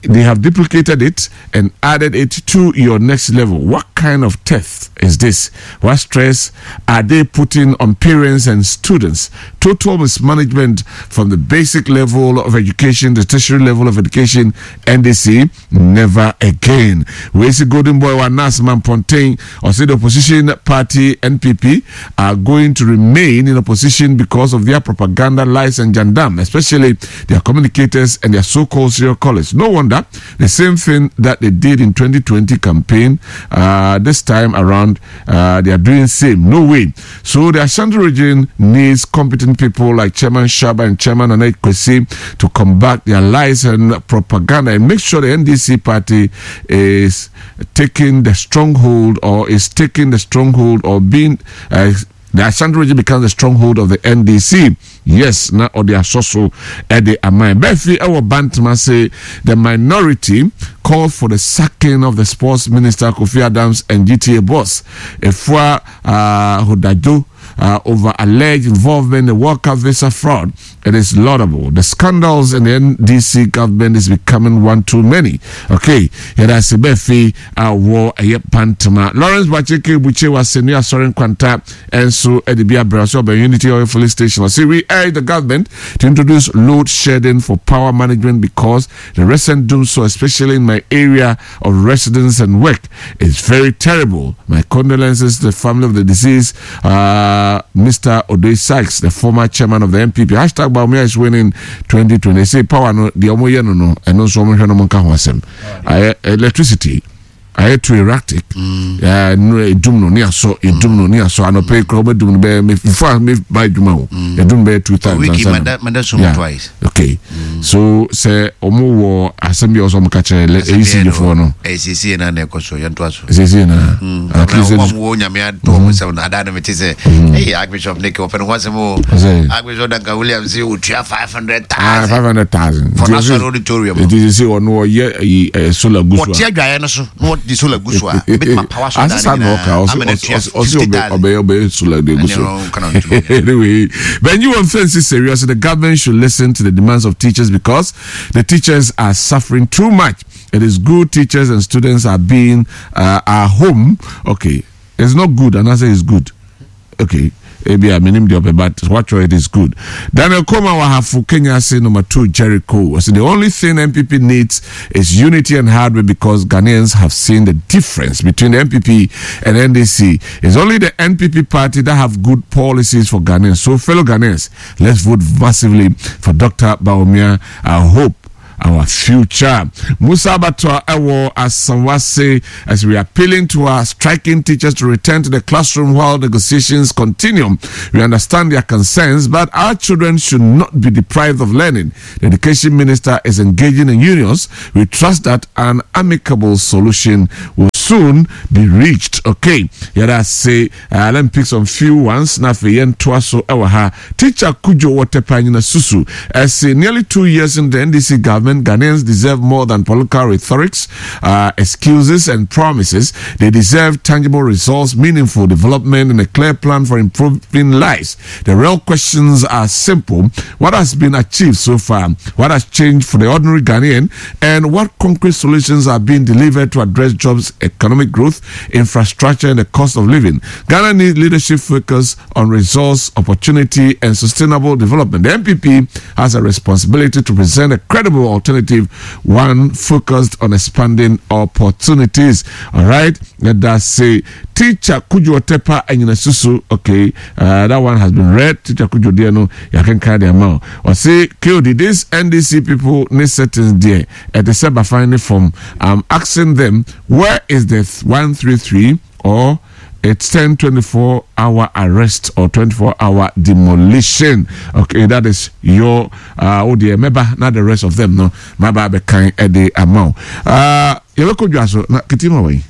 they have duplicated it and added it to your next level. What kind of theft is this? What stress are they putting on parents and students? Total mismanagement from the basic level of education, the tertiary level of education, NDC, never again. We see Golden Boy Wanasman Pontain or say the opposition party NPP are going to remain in opposition because of their propaganda, lies, and jandam, especially their communicators and their so-called serial callers. No wonder the same thing that they did in 2020 campaign uh, this time around uh, they are doing same. No way. So the Ashanti region needs competent people like Chairman Shaba and Chairman Anet Kwesi to combat their lies and propaganda and make sure the NDC party is taking the stronghold or is taking the stronghold or being uh, the Ashanti region becomes the stronghold of the NDC. Yes, na ɔde asɔ so de ama yɛn. Bɛfi wɔ Bantama se the minority called for the sacking of the sports minister Kofi Adams and GTA boss Efua uh, Hodajo uh, over alleged involvement in the World Cup visa fraud. It is laudable. The scandals in the NDC government is becoming one too many. Okay, yɛda ase Bɛfi wɔ ɛyɛ Bantama. Lawrence Bacheke Buche wa Senu Asɔre Nkwanta nso de bi abrɛ ɔsɛ ɔbɛn Unity Oil Filling Station. Ɔsɛ we urge the government to introduce load shedding for power management because the recent doom so especially in my area of residence and work is very terrible. My condolences to the family of the deceased, uh, Mr. Ode Sykes, the former chairman of the MPP. Hashtag Bawumia is winning 2020. Say power no, the omo ye no no, and also omo hwe no monka ho asem. Electricity ayɛ too erratic mm. no edum no ne asɔ edum no ne asɔ anɔpɛ yi kura ɔbɛdum no bɛyɛ me before me ba adwuma o mm. edum bɛyɛ two times ansa na mada sum twice okay mm. so sɛ ɔmo wɔ asɛm bi a ɔsɔ ɔmo ka kyerɛ lɛ ECG foɔ no ɛsiesie na na ɛkɔ so yɛn to aso ɛsiesie na at least ɔmo wɔ nyame ato ɔmo nsɛm no adaa no me te sɛ ɛyɛ Archbishop Nick ɔpɛ ne ho asɛm o Archbishop Duncan Williams sɛ otua five hundred thousand. Ah, 500,000. For national auditorium. It is say ɔno ɔyɛ ɛyi eh, solar gu so a. Wɔte adwaeɛ no so na wɔde solar gu so a. Ebetuma power so dan ne nyinaa. Amena tua 50,000. Ɔbɛyɛ ɔbɛyɛ solar de gu so. Anyway, Benji wɔn fɛn si serious. The government should listen to the demands of teachers because the teachers are suffering too much. It is good teachers and students are being uh, are home. Okay, it's not good, and I say it's good. Okay, ebi a menim deɛ ɔpɛ but watwerɛ it is good. Daniel Koma wɔ Kenya ase number two Jericho. Ɔsɛ the only thing NPP needs is unity and hard work because Ghanaians have seen the difference between the NPP and NDC. It's only the NPP party that have good policies for Ghanaians. So fellow Ghanaians, let's vote massively for Dr. Bawumia. I hope our future. Musa Batwa Ewo Asanwase, as we are appealing to our striking teachers to return to the classroom while negotiations continue. We understand their concerns, but our children should not be deprived of learning. The education minister is engaging in unions. We trust that an amicable solution will soon be reached. Okay, yeah, that's say. Uh, let me pick some few ones. Na afei yɛntoa so ɛwɔ ha. Teacher Kujo Wɔtɛpa Nyina Susu ɛse nearly 2 years in the NDC government, Ghanaians deserve more than political rhetorics, excuses and promises. They deserve tangible results, meaningful development and a clear plan for improving lives. The real questions are simple. What has been achieved so far? What has changed for the ordinary Ghanaian? And what concrete solutions are being delivered to address jobs, economic growth, infrastructure, and the cost of living? Ghana needs leadership focus on resource, opportunity, and sustainable development. The NPP has a responsibility to present a credible alternative, one focused on expanding opportunities. All right, let us say Teacher Kujo Tepa Susu. Okay, that one has been read. Teacher Kujo Diano, you can carry the amount. Or say, KOD, this NDC people need settings there at the Seba finding form. I'm asking them, where is the 133 or it's 10 24 hour arrest or 24 hour demolition. Okay, that is your oh dear, member, not the rest of them, no. My baby kind at the amount. Yɛbɛkɔ dwa so na ketima wɔ yi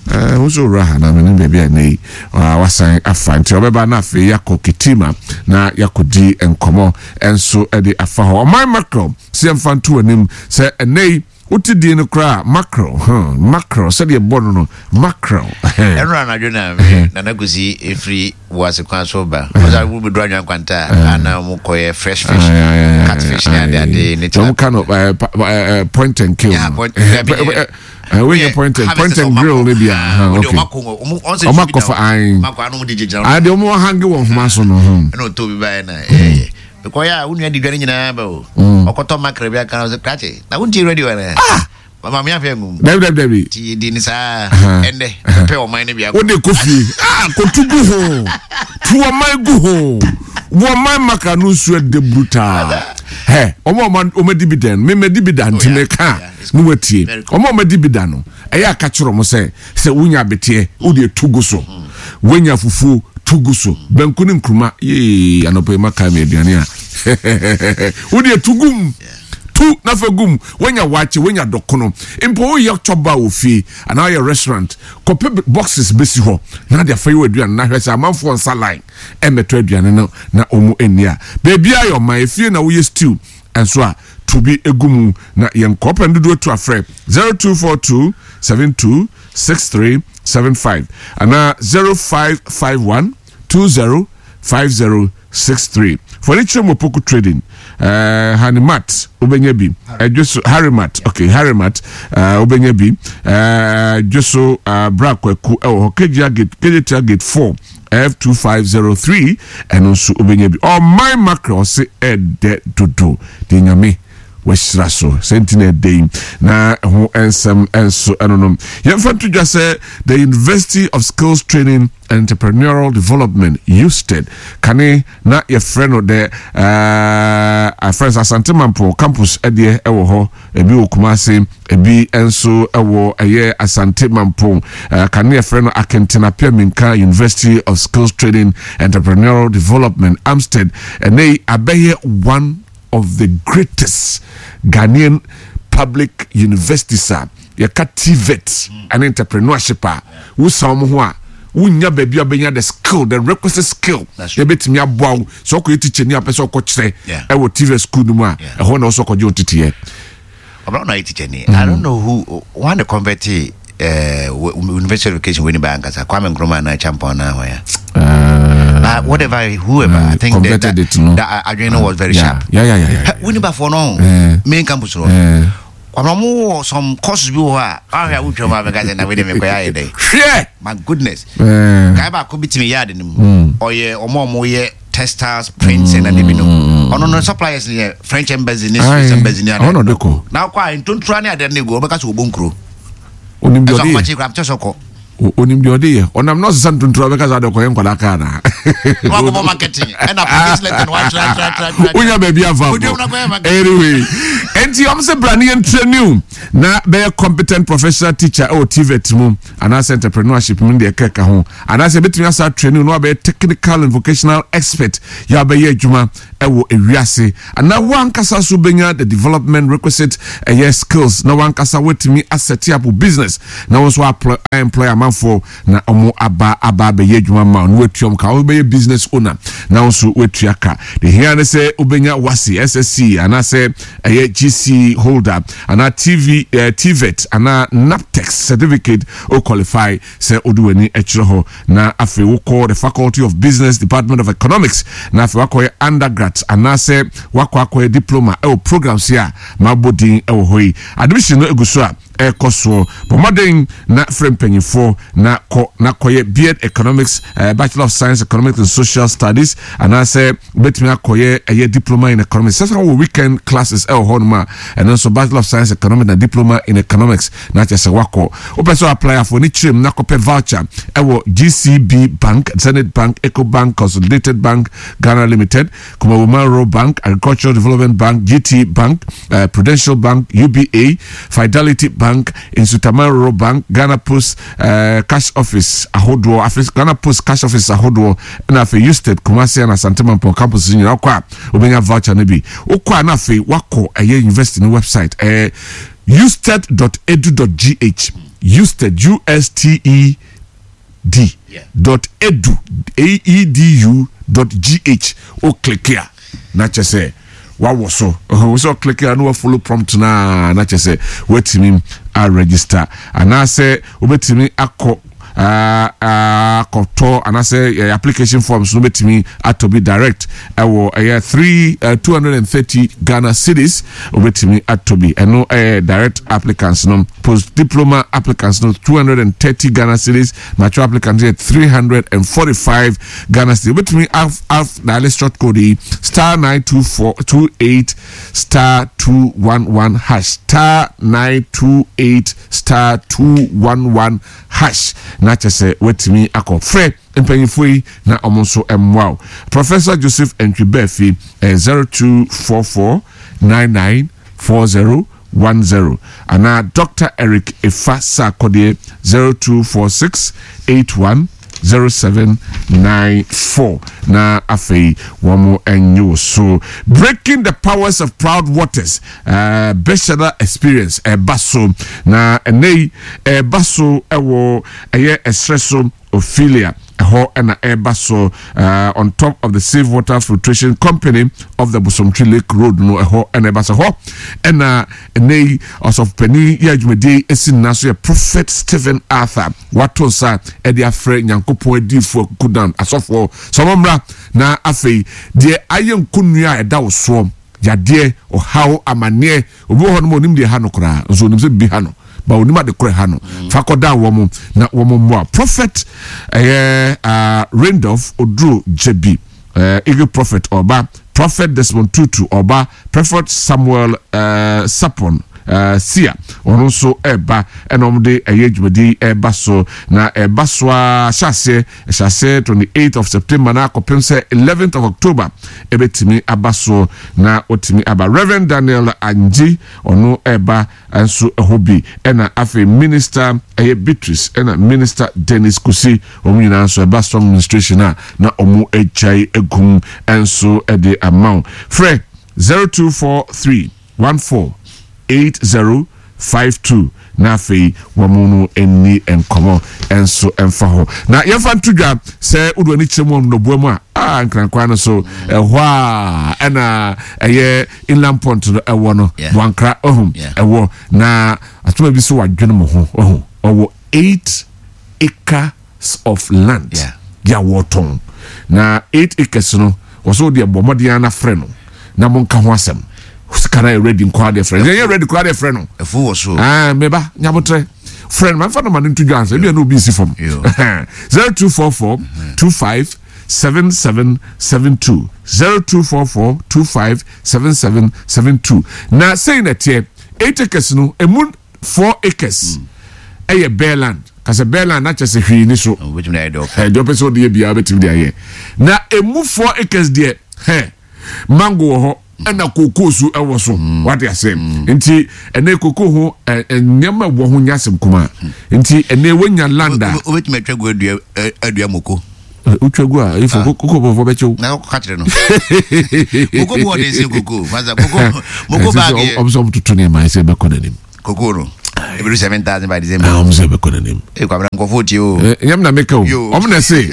nso wura ha na mene baabi a ɛnɛ yi wasan afa nti ɔbɛba na afei yɛakɔ ketima na yɛakɔdi nkɔmmɔ nso de afa hɔ. Ɔman mackerel sɛ yɛmfa nto anim sɛ ɛnɛ yi wote din no koraa mackerel, mackerel sɛdeɛ bɔ no no mackerel. Ɛno anadwo na me Nana Kwesi ɛfiri Boase kwan so ba ɔsɛ wo bɛduru Anwea Nkwanta a ana mo kɔyɛ fresh fish, catfish ne ade ade ne kyɛ ka no point and kill. Yeah, point, wey yɛ point and grill ne bia. Okay, ɔmo akɔfa ayi ade ɔmo ahange wɔ nhoma so no. Ɛna ɔtɔ bi baeɛ na ɛyɛ mekɔyɛ a wo nua di dwa no nyinaa ba o, ɔkɔtɔ mackerel bi aka no sɛ krakye na wontie radio ana? Mama mi afɛ ngum. Dabi, dabi, dabi. Ti di ni saa ɛndɛ pɛ ɔman no bi akɔ. O de ko fie aa kotu gu ho tu ɔman gu ho wɔ ɔman maka no nsuo ɛdɛ brutal hɛ ɔmo ɔmo ɔmo di bi dɛn mi mɛ di bi da nti mɛ ka ne wa tie ɔmo ɔmo di bi da no ɛyɛ aka kyerɛ ɔmo sɛ wonya abeteɛ o de tu gu so, wonya fufuo tu gu so, banku ne nkuruma yee anɔpɛ yi ma ka mi aduane a o de tu gu mu tu nafa gu mu, wonya wakye, wonya dɔkono mpo, woyɛ chɔba wɔ fie anaa woyɛ restaurant, kɔpɛ boxes bɛsi hɔ na de afa yi wɔ aduane na hwɛ sɛ amanfoɔ nsa line ɛmɛtɔ aduane no na ɔmu ani a beebi ayɛ ɔman efie na woyɛ stew nso a to bi egu mu na yɛn kɔpɛ dodoɔ tu afrɛ 0242 726375 anaa 0551 205063. Fɔle kyerɛ mu Opoku Trading, Hanimat wobɛnya bi ɛdwe so, Harimat, okay, Harimat wobɛnya bi ɛdwe so, Bra Kwaku ɛwɔ hɔ Kejetia Gate, Kejetia Gate 4 F2503 ɛno nso wobɛnya bi. Ɔman mackerel ɔse ɛdɛ dodo de Nyame wahyira so sɛ nti na ɛdɛ yi na ɛho nsɛm nso ɛno no yɛmfa nto dwa sɛ the University of Skills Training and Entrepreneurial Development, USTED, kane na yɛfrɛ no the friends Asante Mampo campus ɛdeɛ ɛwɔ hɔ, ebi wɔ Kumase, ebi nso ɛwɔ ɛyɛ Asante Mampo, kane yɛfrɛ no Akenten Appiah Menka University of Skills Training Entrepreneurial Development, AAMUSTED, ɛnɛ yi abɛyɛ one of the greatest Ghanaian public universities a yɛka TVET ɛne entrepreneurship a wosan wɔn ho a wonya baabi a bɛnya the skill, the requisite skill yɛbɛtumi aboa wo sɛ ɔkɔyɛ teacher ni a pɛ sɛ ɔkɔkyerɛ ɛwɔ TVET school no mu a ɛhɔ na ɔsɛ ɔkɔgye wo teteɛ. Ɔbɛn na ɔyɛ teacher ni. I don't know who one the convert university education wey ni ba ankasa Kwame Nkrumah na Champon na hɔ ya. But whatever, whoever, I think that, converted it, no? That adwene no was very sharp. Yeah. Winneba for no main campus no. Kwabena ɔmo wɔ some courses bi wɔ hɔ a wahwɛ a wotwa mu a bɛka sɛ na wei de mekɔyɛ ayɛ dɛn. Hwɛ! My goodness. Eh. Guy baako bi te me yard no mu. Ɔyɛ ɔmo a ɔmo yɛ textiles prints and ade bi no. Ɔno no suppliers no yɛ French embassy ne Swiss Aye. embassy ne ade. Ɔno na ɔde kɔ. Na ɔkɔ a ntontura ne ade no egu ɔbɛka sɛ ɔbɔ nkuro. Onim deɛ Ɛsɛ ɔde yɛ. ɔkɔmakye kora kyɛ sɛ ɔkɔ. Onim deɛ ɔde yɛ. Ɔnam na ɔsesa ntontura bɛka sɛ ade ɔkɔyɛ nkwadaa kaa na. Wakɔbɔ marketing ɛna application letter no watwerɛ atwerɛ atwerɛ atwerɛ. Wonya baabi afa Wodwam na kɔyɛ marketing. Anyway, enti ɔmo sɛ bra ne yɛn training na bɛyɛ competent professional teacher ɛwɔ TVET mu anaasɛ entrepreneurship mu deɛ ɛkɛka ho anaasɛ ebetumi asa training na wabɛyɛ technical and vocational expert yɛ abɛyɛ adwuma ɛwɔ ewiase anaa wankasa so benya the development requisite ɛyɛ skills na wankasa watumi aset up business na wɔn nso aploy employ amanfoɔ na wɔn aba aba abɛyɛ adwuma ma na watua wɔn ka wɔn bɛyɛ business owner na wɔn nso watua ka de hia ne sɛ wobɛnya WASSCE SSC anaasɛ ɛyɛ GC holder anaa TV eh, TVET anaa NAPTEX certificate o qualify sɛ wode w'ani kyerɛ hɔ na afei wokɔ the Faculty of Business Department of Economics na afei wakɔyɛ undergrad anaasɛ wakɔ akɔyɛ diploma ɛwɔ programs yi a mabɔ din ɛwɔ hɔ yi. Admission no egu so a ɛrekɔ soɔ. Bɔ mmɔden na frɛ mpanyinfoɔ na kɔ na kɔyɛ BEd Economics, eh, Bachelor of Science Economics and Social Studies anaasɛ wobɛtumi akɔyɛ ɛyɛ Diploma in Economics. Sɛ sɛ wɔ weekend classes ɛwɔ hɔ nom a ɛno nso Bachelor of Science Economics na Diploma in Economics na kyerɛ sɛ wakɔ. Wopɛ sɛ apply afɔ ne kyerɛ mu na kɔpɛ voucher ɛwɔ GCB Bank, Zenith Bank, Ecobank, Consolidated Bank, Ghana Limited, Kumawoman Rural Bank, Agricultural Development Bank, GT Bank, uh, Prudential Bank, UBA, Fidelity Bank, Nsutaman Rural Bank, Ghana Post uh, Cash Office ahodoɔ, afei Ghana Post Cash Office ahodoɔ, ɛna afei Usted, Kumasi and Asante Mampong campus nyinaa wokɔ a wobɛnya voucher no bi. Wokɔ a na afei wakɔ ɛyɛ university no website ɛyɛ usted.edu.gh usted u s t e d dot edu edu dot gh o click a na kyɛ sɛ wawɔ so wo sɛ ɔclick a na wafollow prompt na na kyɛ sɛ watumi a register anaasɛ wobɛtumi akɔ akɔtɔ anaasɛ application forms no bɛtumi atɔ bi direct ɛwɔ ɛyɛ 3 230 Ghana cedis wobɛtumi atɔ bi ɛno ɛyɛ direct applicants no post diploma applicants no 230 Ghana cedis mature applicants yɛ 345 Ghana cedis wobɛtumi af af dial short code yi star 924 28 star 211 hash star 928 star 211 hash na kyɛ sɛ woatumi akɔ frɛ mpanyinfoɔ yi na wɔn nso mmoa wo. Professor Joseph Antwi Baafi ɛyɛ 0244 99 40 10 anaa Doctor Eric Efa Sarkodie 0246 81 0794 na afei wɔn nye wo so. Breaking the powers of proud waters uh, Beshada experience ɛba so na ɛnɛ yi ɛba so ɛwɔ ɛyɛ ɛsrɛ so Ophelia, ɛhɔ na ɛreba so uh, on top of the Safe Water Filtration Company of the Bosomtwe Lake Road no ɛhɔ na ɛba so hɔ ɛna ɛnɛ yi ɔsɔfopanin yɛ adwumadie esi nna so yɛ Prophet Stephen Arthur wato nsa ɛde afrɛ Nyankopɔn adiifoɔ akukudan asɔfoɔ sɛ wɔn mmra na afei deɛ ayɛ nkonnua a ɛda wo soɔ yadeɛ ɔhaw amaneɛ Obi wɔ hɔ nom a onim deɛ ɛha no koraa, nso onim sɛ biribi ha no, ba onim ade korɔ ɛha no. Fa kɔdan wɔn na wɔn mmoa. Prophet ɛyɛ uh, Randolph Oduro Gyebi, uh, Eagle Prophet ɔba, Prophet Desmond Tutu ɔba, Prophet Samuel uh, Sapon uh, Sia ɔno nso ɛba ɛna wɔn de ɛyɛ dwumadie yi ɛba so na ɛba so a hyɛ aseɛ Ɛhyɛ aseɛ 28 of September na akɔpem sɛ 11th of October ɛbɛtumi aba soɔ na watumi aba. Rev. Daniel Angye ɔno ɛreba nso ɛhɔ bi ɛna afei Minister ɛyɛ Beatrice ɛna Minister Dennis Kusi wɔn nyinaa nso ɛba strong ministration a na wɔn agyae agum nso ɛde ama wo. Frɛ 0243 14 80 52 na afei wɔn no nni nkɔmmɔ nso mfa hɔ. Na yɛmfa nto dwa sɛ wode w'ani kyerɛ mu wɔ nnɔboa mu a, a nkrankwan no so ɛhɔ a ɛna ɛyɛ inland pont no ɛwɔ no Boankra ɔho ɛwɔ na atoma bi so wadwene mo ho ɔho ɔwɔ 8 acres of land yɛ a wɔtɔn na 8 acres no wɔsɛ wode ɛbɔ mmɔden ara na frɛ no na monka ho asɛm. Sika no ayɛ ready nkoa deɛ frɛ no. Ɛyɛ ready koraa deɛ frɛ no. Ɛfu wɔ so. Ah, meba nyabotrɛ. Frɛ no, ma nfa no ma no nto dwa ansa. Ebi a na obi nsi fam. 0244 25 7772 0244 25 7772 Na sei na ɛteɛ. 8 acres no, emu 4 acres ɛyɛ bare land. Kasɛ bare land na kyɛ sɛ hwee ni so. Deɛ ɔpɛ sɛ ɔde yɛ biara bɛtumi de ayɛ. Na emu 4 acres deɛ, hɛ, mango wɔ hɔ ɛna kookoo so ɛwɔ so mm. wate ase mm. nti ɛnɛ kookoo ho nneɛma ɛwɔ ho nyɛ asɛm kuma mm. nti ɛnɛ wonya land a wobɛtumi atwa gu adua adua moko wotwa gu a ifo ah. koko bɔfɔ bɛkyɛw na kɔka kyerɛ no moko bu ɔden sɛ koko masa koko moko baage ɔm sɛ ɔmtoto nneɛma sɛ ɛbɛkɔ n'anim Koko no ebi 7,000 by December. Ah, ɔmo sɛ ɛbɛkɔ n'anim. Ee kwabena nkɔfo tie o. Eh, nyɛm na meka o. Ɔmo na ɛse.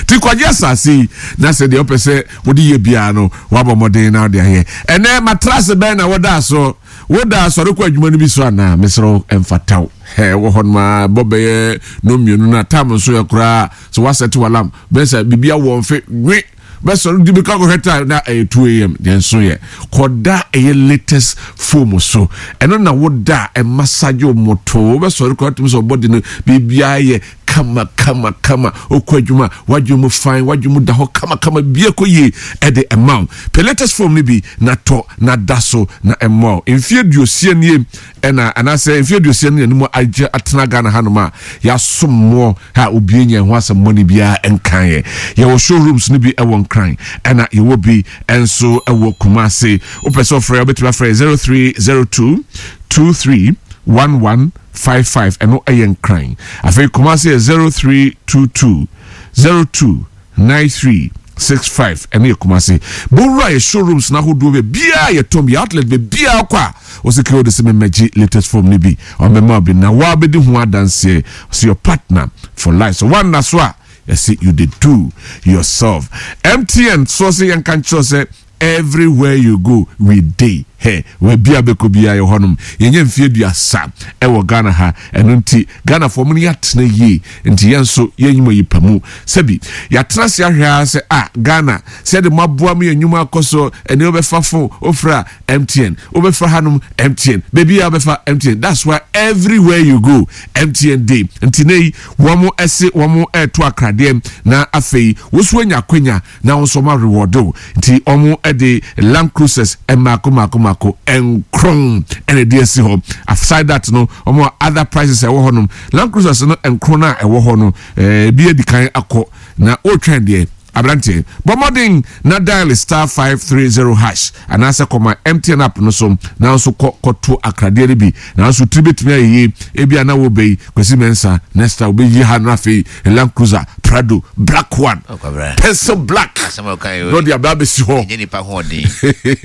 Ti kwagye asase yi na sɛ deɛ ɔpɛ sɛ wode yɛ biara no wabɔ mmɔden na wode ayɛ. Ɛnɛ matrase bɛn na wɔda so? Woda asɔre kɔ adwuma no bi so anaa? Mesrɛ wo ɛmfata wo. Hɛ wɔ hɔ no ma bɔ bɛyɛ no mmienu na tam nso yɛ koraa sɛ wasɛte walam bɛyɛ sɛ biribi awɔ mfe nwe Bɛsɔre di mirika kɔhwɛ time na ɛyɛ 2 am deɛ nso yɛ kɔda ɛyɛ latest foam so ɛno na woda a ɛmasagye wo motoo wobɛsɔre koraa tumi sɛ ɔbɔde no biribiara yɛ kama kama kama wokɔ adwuma wadwene mu fine wadwene mu da hɔ kama kama biribiara kɔ yie ɛde ɛma wo pɛ latest foam no bi na tɔ na da so na ɛmmoa wo mfeɛ aduosia nie ɛna anaasɛ mfeɛ aduosia no yɛne mu agye atena Ghana hanom a yɛasom moɔ a obi anya ɛho asɛm bɔne biara nkaeɛ. Yɛwɔ showrooms no bi wɔ Nkran ɛna yɛwɔ bi nso wɔ Kumasi. Wopɛ sɛ ɔfrɛ a wobɛtumi afrɛ 0302 23 1155 ɛno ɛyɛ Nkran. Afei Kumasi yɛ 0322 02 9365 ɛno yɛ Kumasi. Bowura yɛ showrooms no ahodoɔ baabiara yɛtɔn bi outlet baabiara kɔ a wɔsɛ kɛ wode sɛ memmɛgye latest form no bi ɔmmɛma bi na woabɛdi ho adanseɛ sɛ your partner for life so woanna so a yɛse you dey do yourself. MTN soɔ sɛ yɛnka nkyerɛ sɛ Everywhere you go we dey hɛ baabi a bɛkɔ biara yɛwɔ hɔnom yɛnyɛ mfeɛ aduasa ɛwɔ Ghana ha ɛno nti Ghanafoɔ mo ne yɛatena yie nti yɛn nso yɛnyi mo ayi pa mu sɛbi yɛatena ase ahwɛ ara sɛ ah Ghana sɛ yɛde mo aboa mo yɛn nnwuma akɔ so ɛnɛ wobɛfa phone wofrɛ a MTN wobɛfa hanom MTN baabi a wobɛfa MTN that's why everywhere you go MTN dey nti nɛ yi wɔn ɛse wɔn ɛɛto akradeɛ na afei woso anya akwanya na wɔn nso wɔn arewɔde wo nti wɔn de land cruisers mmaako mmaako mmaako nkron ɛna ɛde asi hɔ aside that no wɔn other prices ɛwɔ hɔ nom land cruisers no nkron a ɛwɔ hɔ no ɛɛ ebi adi kan akɔ na wɔretwɛn deɛ aberanteɛ bɔ mmɔden na dial star 530 hash anaasɛ kɔma MTN app no so na nso kɔ kɔto akradeɛ no bi nanso tiri bɛtumi ayɛ yie ebi a na wɔbɛyi Kwasi Mensah next time wobɛyi ha no afei Land Cruiser Prado black one oh, pencil black na ɔde aba abɛsi hɔ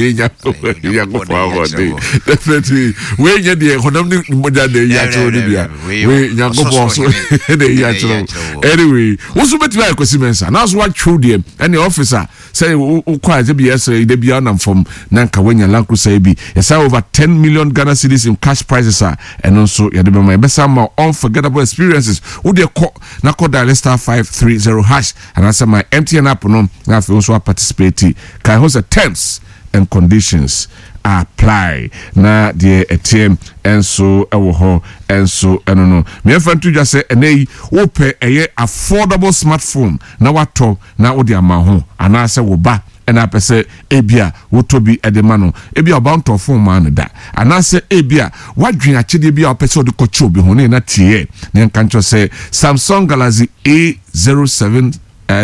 Nyankopɔn ahoɔden definitely wei nyɛ deɛ honam ne mogya na ɛyi akyerɛ no bia wei Nyankopɔn so na ɛyi akyerɛ anyway wo so bɛtumi ayɛ Kwasi Mensah na so watwew deɛ ɛne office a Sɛ wokɔ a ɛsɛ bi yɛsrɛ da biara nam fam na nka woanya Land Cruiser yi bi. Yɛsan over 10 million Ghana cedis in cash prizes a ɛno nso yɛde bɛma. Yɛbɛsan ma unforgettable experiences. Wo deɛ kɔ na kɔ dial star 530 hash anaasɛ my MTN app no na afei wo nso aparticipate. Kae ho sɛ terms and conditions apply. Na deɛ ɛteɛ nso wɔ hɔ nso ɛno no. Meɛmfa nto dwa sɛ ɛnɛ yi wopɛ ɛyɛ affordable smartphone na watɔ na wode ama ho anaasɛ wo ba na apɛ sɛ ebia wotɔ bi de ma no. Ebia wo ba ntɔɔ fon mmaa no da. Anaasɛ ebia woadwen akyɛdeɛ bi a wopɛ sɛ wode kɔkyɛ obi ho ne na tieɛ na yɛnka nkyerɛ sɛ Samsung Galaxy A07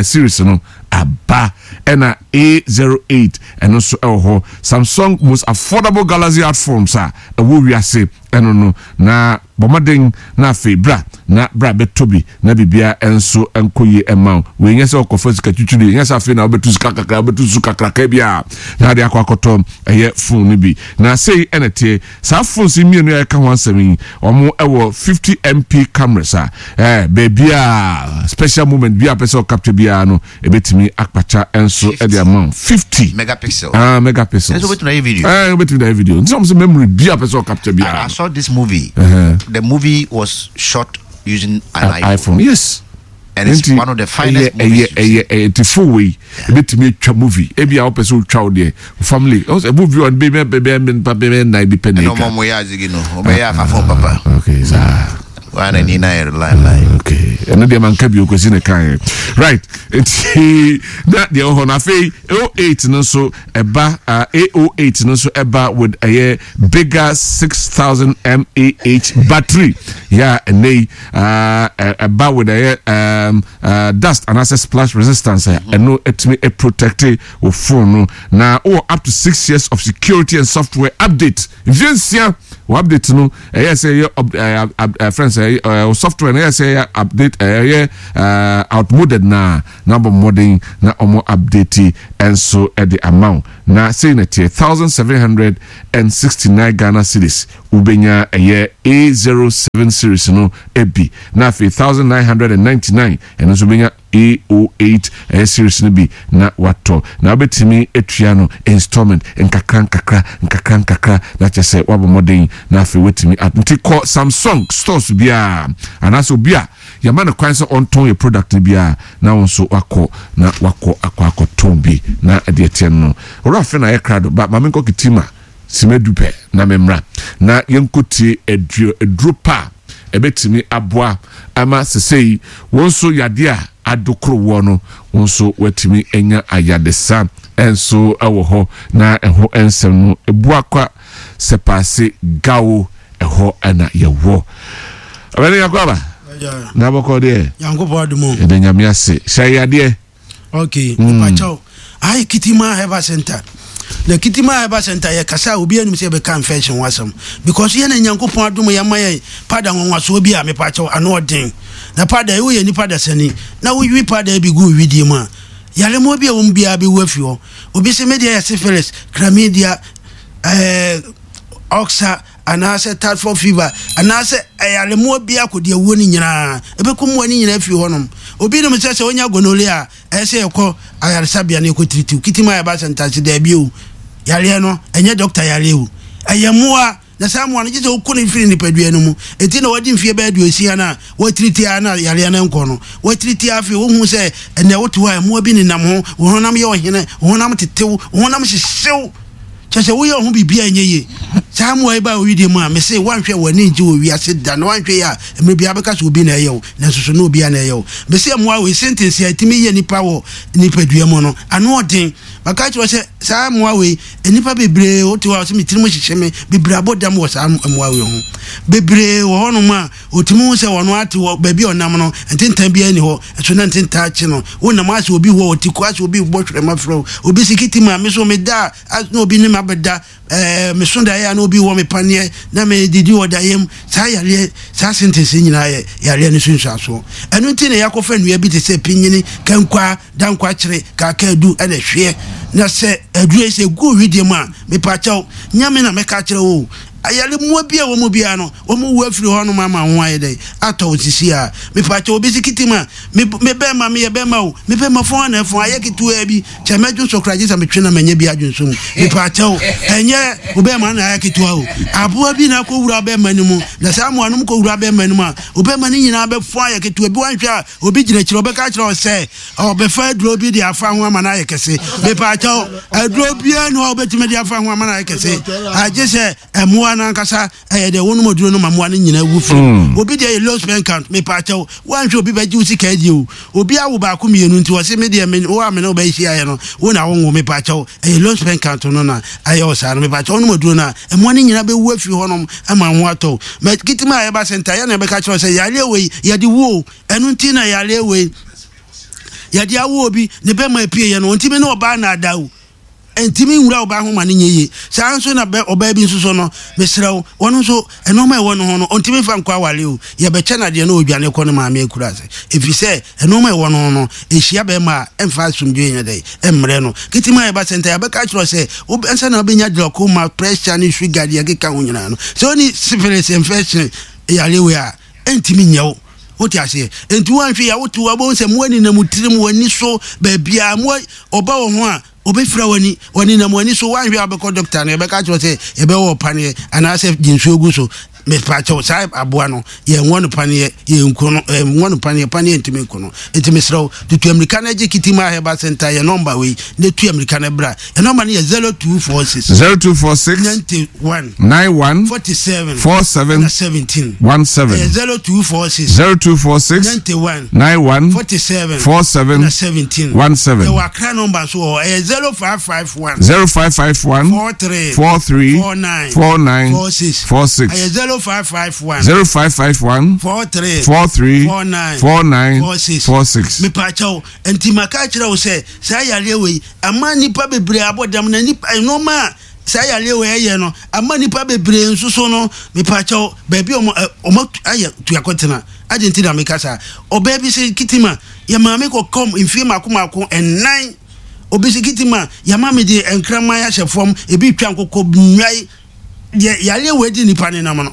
series no aba ɛna A08 ɛno nso ɛwɔ hɔ. Samsung most affordable Galaxy art phones a ɛwɔ wiase ɛno no na bɔ mmɔden na afei bra na bra bɛtɔ bi na biribiara nso nkɔ yie mma wo. Wei nyɛ sɛ ɔkɔfa sika twitwiri, nyɛ sɛ afei na wobɛtu sika kakra, wobɛtu su kakraka bi a na ade akɔ akɔtɔ ɛyɛ phone no bi. Na sei ɛna ɛteɛ, saa phones yi mmienu a yɛka ho asɛm yi, wɔn ɛwɔ 50 MP cameras a ɛɛ baabi a special moment bi a pɛ sɛ ɔcapture biara no Ebetumi akpakya nso de ama wo. 50 megapixel. Ah, megapixels. Ɛnso wobɛtumi ayɛ video. Eh, wobɛtumi de ayɛ video. Nti sɛ wɔn sɛ memory bi a pɛ sɛ ɔcapture biara. I saw this movie. The movie was shot using an iPhone. iPhone, yes. And it's Nti one of the finest ɛyɛ ɛyɛ movies you've ɛyɛ ɛyɛ ti fo wei ebetumi atwa movie ebi a wopɛ sɛ wotwa wo deɛ family ɔsɛ movie ɔno bɛyɛ bɛyɛ nipa bɛyɛ nnan bi pɛ na ɛna atwa. ɔmo yɛ azigi no ɔbɛyɛ afafo papa Okay saa. Wa na ni na yɛ line line. Okay ɛno deɛ manka bio kwasi ne kaeɛ right nti na deɛ wɔ hɔ no afei 08 no nso ɛba uh, A08 no nso ɛba with ɛyɛ bigger 6000 mAh battery yɛ a ɛnɛ yi uh, ɛba with ɛyɛ um, uh, dust anaasɛ splash resistance a ɛno ɛtumi protect wo phone no na wowɔ up to 6 years of security and software update mfie nsia wɔ update no ɛyɛ sɛ ɛyɛ ɛɛ ɛɛ friends ɛyɛ ɛɛ software no ɛyɛ sɛ ɛyɛ update ɛyɛ ɛɛ outmoded na na abɔ mmɔden na wɔn update nso ɛde ama wo na sei na ɛteɛ 1769 Ghana cedis wobɛnya ɛyɛ A07 series no bi na afei 1999 ɛno nso wobɛnya A08 ɛyɛ series no bi na watɔ na wobɛtumi atua no installment nkakra nkakra nkakra nkakra na kyerɛ sɛ wabɔ mmɔden na afei watumi at nti kɔ Samsung stores biara anaasɛ obi a yɛma no kwan sɛ ɔntɔn yɛ product no biara na wo nso wakɔ na wakɔ akɔ akɔtɔn bi na ɛdeɛ teɛ no owura afei na ayɛ krado ba maame nkɔ kitima simadu pɛ na memmra na yɛnkɔtie aduro aduro pa a ɛbɛtumi aboa ama sesei wo nso yadeɛ a adokoro woɔ no wo nso woatumi anya ayadesa nso wɔ hɔ na ɛho nsɛm no ɛbuakwa sɛpaase gawo ɛhɔ na yɛwɔ ɔbɛne yakɔ aba na bɔkɔ deɛ Nyankopɔn adom o. Yɛda Nyame ase hyɛ yadeɛ. Ok, mepakyɛw. Aha yɛ Kitima Herbal Center. Na Kitima Herbal Center yɛ kasa a obi anim sɛ yɛbɛka infection ho asɛm. Because yɛn na Nyankopɔn adom yɛn ama yɛn powder nwanwasoɔ bi a mepakyɛw ano ɔden. Na powder yi woyɛ nipa dasani na wowi powder yi bi gu wo widie mu a, yaremmoa bi a ɛwɔ mu biara bɛwu afi hɔ. Obi se me deɛ yɛ syphilis, chlamydia, ɛɛ oxa, anaasɛ typhoid fever, anaasɛ ayaremmoa biara kɔdi awuo no nyinaa, ɛbɛku mmoa no nyinaa afiri hɔnom. Obi nim sɛ sɛ ɔnya gonorrhea a, ɛyɛ sɛ yɛkɔ ayaresabea na yɛkɔtiritiw. Kitim a yɛba sɛntase, daabi o, yareɛ no, ɛnyɛ dɔkta yareɛ o, ɛyɛ mmoa, na saa mmoa no gye sɛ woko no firi nipadua no mu. Enti na wadi mfeɛ bɛyɛ 60 no a, woatiriti ara na yareɛ no nkɔ no. Woatiriti ara afei wohu sɛ ɛnnɛ wote hɔ a mmoa bi nenam ho, wo honam yɛ ɔhene, wo honam tetew, wo honam hyehyew. Kyerɛ sɛ woyɛ wo ho biribi a ɛnyɛ yie. Saa mmoa yi ba wo wedeɛ mu a, mese woanhwɛ a w'ani ngye wɔ wiase da na woanhwɛ yie a mmerɛ biara bɛka sɛ obi na ɛyɛ wo nanso so na obiara na ɛyɛ wo. Mese mmoa wei sentence a ɛtumi yɛ nipa wɔ nipadua mu no ano ɔden. Maka akyerɛ wo sɛ saa mmoa wei nnipa bebree wote hɔ a wɔse me tirim hyehye me bebree abɔ dam wɔ saa mmoa wei ho. Bebree wɔ hɔnom a ɔtumi hu sɛ ɔno ate hɔ baabi a ɔnam no ntentan biara nni hɔ nso na ntentan akye no. Wonam asɛ obi wɔ ɔte ku asɛ obi bɔ hwerɛma frɛ wo. Obi se kiti ma me so meda a na obi ne me abɛda ɛɛ meso daeɛ a na obi wɔ me paneɛ na medidi wɔ daeɛ mu. Saa yareɛ saa sentence nyinaa yɛ yareɛ no so nsuasoɔ. Ɛno nti na yɛakɔfa nnua bi te sɛ pinyini, kankwaa, dankwakyere, kaakaadu ɛna ɛhweɛ. Na sɛ aduro yi sɛ ɛgu owideɛ mu a mepakyɛw nyɛ me na mɛka akyerɛ wo o. Ayare mmoa bi a ɛwɔ mu biara no, wɔn wu afiri hɔ nom ama ho ayɛ dɛn? Atɔ wo sisi a. Mepakyɛw, obi si kitim a, me, me bɛrima, meyɛ bɛrima o, me bɛrima fɔn a na ɛfɔn, ayɛ ketewaa bi, kyɛ mɛdwo so koraa gye sɛ metwe na manya bi adwonso mu. Mepakyɛw, ɛnyɛ wo bɛrima na ayɛ ketewa o. Aboa bi na akɔwura bɛrima no mu, na saa mmoa no kɔwura bɛrima no mu a, wo bɛrima no nyinaa bɛfɔn ayɛ ketewa bi, woanhwɛ a, obi gyina akyire ɔbɛka akyerɛ wo sɛ ɔbɛfa aduro bi de afa ho ama no ayɛ kɛse. Mepakyɛw, aduro biara ni hɔ a wobɛtumi de afa ho ama no ayɛ kɛse, agye sɛ mmoa no ankasa ɛyɛ dɛ wonom aduro no ma mmoa no nyinaa wu firi. Obi deɛ yɛ low sperm count. Mepakyɛw, woanhwɛ obi bɛgye wo sika adi o. Obi awo baako mmienu nti ɔse me deɛ me wo a me ne wo bɛhyiaeɛ no wo na wonwo. Mepakyɛw, ɛyɛ low sperm count no na ayɛ wo saa no. Mepakyɛw, wonom aduro no a mmoa no nyinaa bɛwu afiri hɔnom ama wo ho atɔ wo. Ma kitima a yɛba sɛ ntaeɛ na yɛbɛka kyerɛ wo sɛ yareɛ wei yɛde wu o. Ɛno nti na yareɛ wei yɛde awo obi ne bɛma apue yɛ no ɔntumi ne ɔbaa naadaa o. Ɛntumi nwura ɔbaa ho ma no nyɛ yie. Saa ara nso na bɛ ɔbaa bi nso so no, mesrɛ wo, ɔno nso nneɛma a ɛwɔ ne ho no, ɔntumi mfa nkɔ aware o. Yɛbɛkyɛ no adeɛ na ɔdwane kɔ ne maame akura ase. Ɛfiri sɛ nneɛma a ɛwɔ ne ho no, ɛhyia bɛrima a, ɛmfa asomdwoeɛ nyɛ dɛn? Ɛmmrɛ no. Ketewa a yɛba sɛ nta, yɛbɛka akyerɛ wo sɛ, wo ansa na wobɛnya glaucoma, pressure ne sugar deɛ ɛkeka ho nyinaa no, sɛ wonni syphilis infection yareɛ wei a, ɛntumi nyɛ wo. Wote aseɛ? Enti woanhwɛ yie a, wote hɔ a, wobɛhu sɛ mmoa nenam wo tirim, w'ani so, baabiara. Mmoa, ɔba wo ho a, ɔbɛfira w'ani, ɔnenam w'ani so. Woanhwɛ a, wobɛkɔ dɔkta no, yɛbɛka akyerɛ wo sɛ yɛbɛwɔ wo paneɛ anaasɛ gye nsuo gu so. Mepakyɛw, saa aboa no, yɛnwɔ no paneɛ, yɛnku no, yɛnwɔ no paneɛ, paneɛ ntumi nku no. Enti mesrɛ wo, tutu amirika na gye Kitima Herbal Center yɛn nɔmba wei na tu amirika na bra. Yɛn nɔmba no yɛ 0246. 0246. 91. 91. 47. 47. Na 17. 17. Ɛyɛ 0246. 0246. 91. 91. 47. 47. Na 17. 17. Yɛwɔ Accra nɔmba nso wɔ hɔ, ɛyɛ 0551. 0551. 43. 43. 49. 49. 46. 46. Ɛyɛ 0551. 0551. 43. 43. 49. 49. 46. 46. Mepaakyɛw, nti maka akyerɛ wo sɛ saa yareɛ wei ama nnipa bebree abɔ dam na nnipa nneɛma a saa yareɛ wei ɛyɛ no ama nnipa bebree nso so no mepaakyɛw baabi a wɔn wɔn ayɛ tuakɔtena adi nti na meka saa ɔbaa bi sɛ kitima yɛ maame kɔkɔm mfie mako mako ɛnan obi sɛ kitima yɛ maame de nkraman ahyɛ fam ebi twa nkokɔ nnwae deɛ yareɛ wei di nipa ne nam no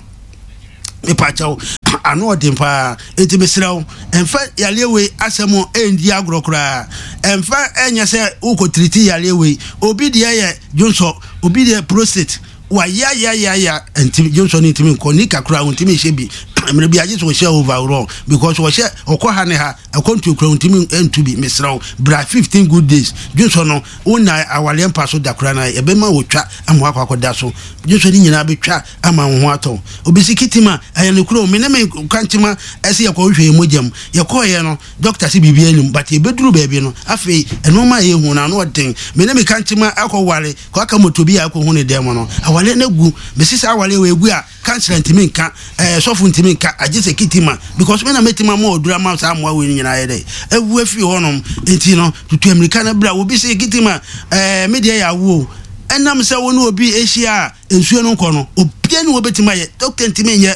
mepakyɛw ano ɔden paa eti mesrɛ wo ɛnfa yareɛ wei asɛm ɛndi agorɔ koraa ɛnfa ɛnyɛ sɛ wokɔ tiriti yareɛ wei obi deɛ yɛ dwonsɔ obi deɛ prostate wayayayaya ntimi dwonsɔ no ntimi nkɔ nika koraa ntimi nhyɛ bi mmerɛ bi agye sɛ ɔhyɛ overall because ɔhyɛ ɔkɔ ha ne ha ɛkɔ ntuo koraa ntimi ntu bi mesrɛ wo bra 15 good days dwonsɔ no wo na awareɛ mpa so da koraa na ɛbɛma wɔtwa ama wakɔ akɔda so dwonsɔ no nyinaa bɛtwa ama wo ho atɔ wo. Obi si kitima ɛyɛ no kuro me ne me kwankyema ɛsɛ yɛkɔ hwehwɛ yɛn mogya mu yɛkɔɔyɛ no dɔkta se biribi anim but yɛbɛduru baabi no afei ɛnoɔma a yɛhu no ano ɔden me ne me kankyema akɔ ware kɔ aka moto bi a akɔhu ne dɛm no awareɛ no agu mesi saa awareɛ wɔ ɛgu a Councillor ntumi nka, ɛɛ sɔfo ntumi nka, agye sɛ Kitima because me na mɛtumi ama ɔduru ama saa mmoa wei no nyinaa ayɛ dɛ awu afiri hɔnom. Nti no, tutu amirika no bra. Obi se Kitima, ɛɛ me deɛ yɛ awo o. Ɛnam sɛ wo ne obi ahyia a nsuo no nkɔ no, obiara ni wɔbɛtumi ayɛ, doctor ntumi nyɛ.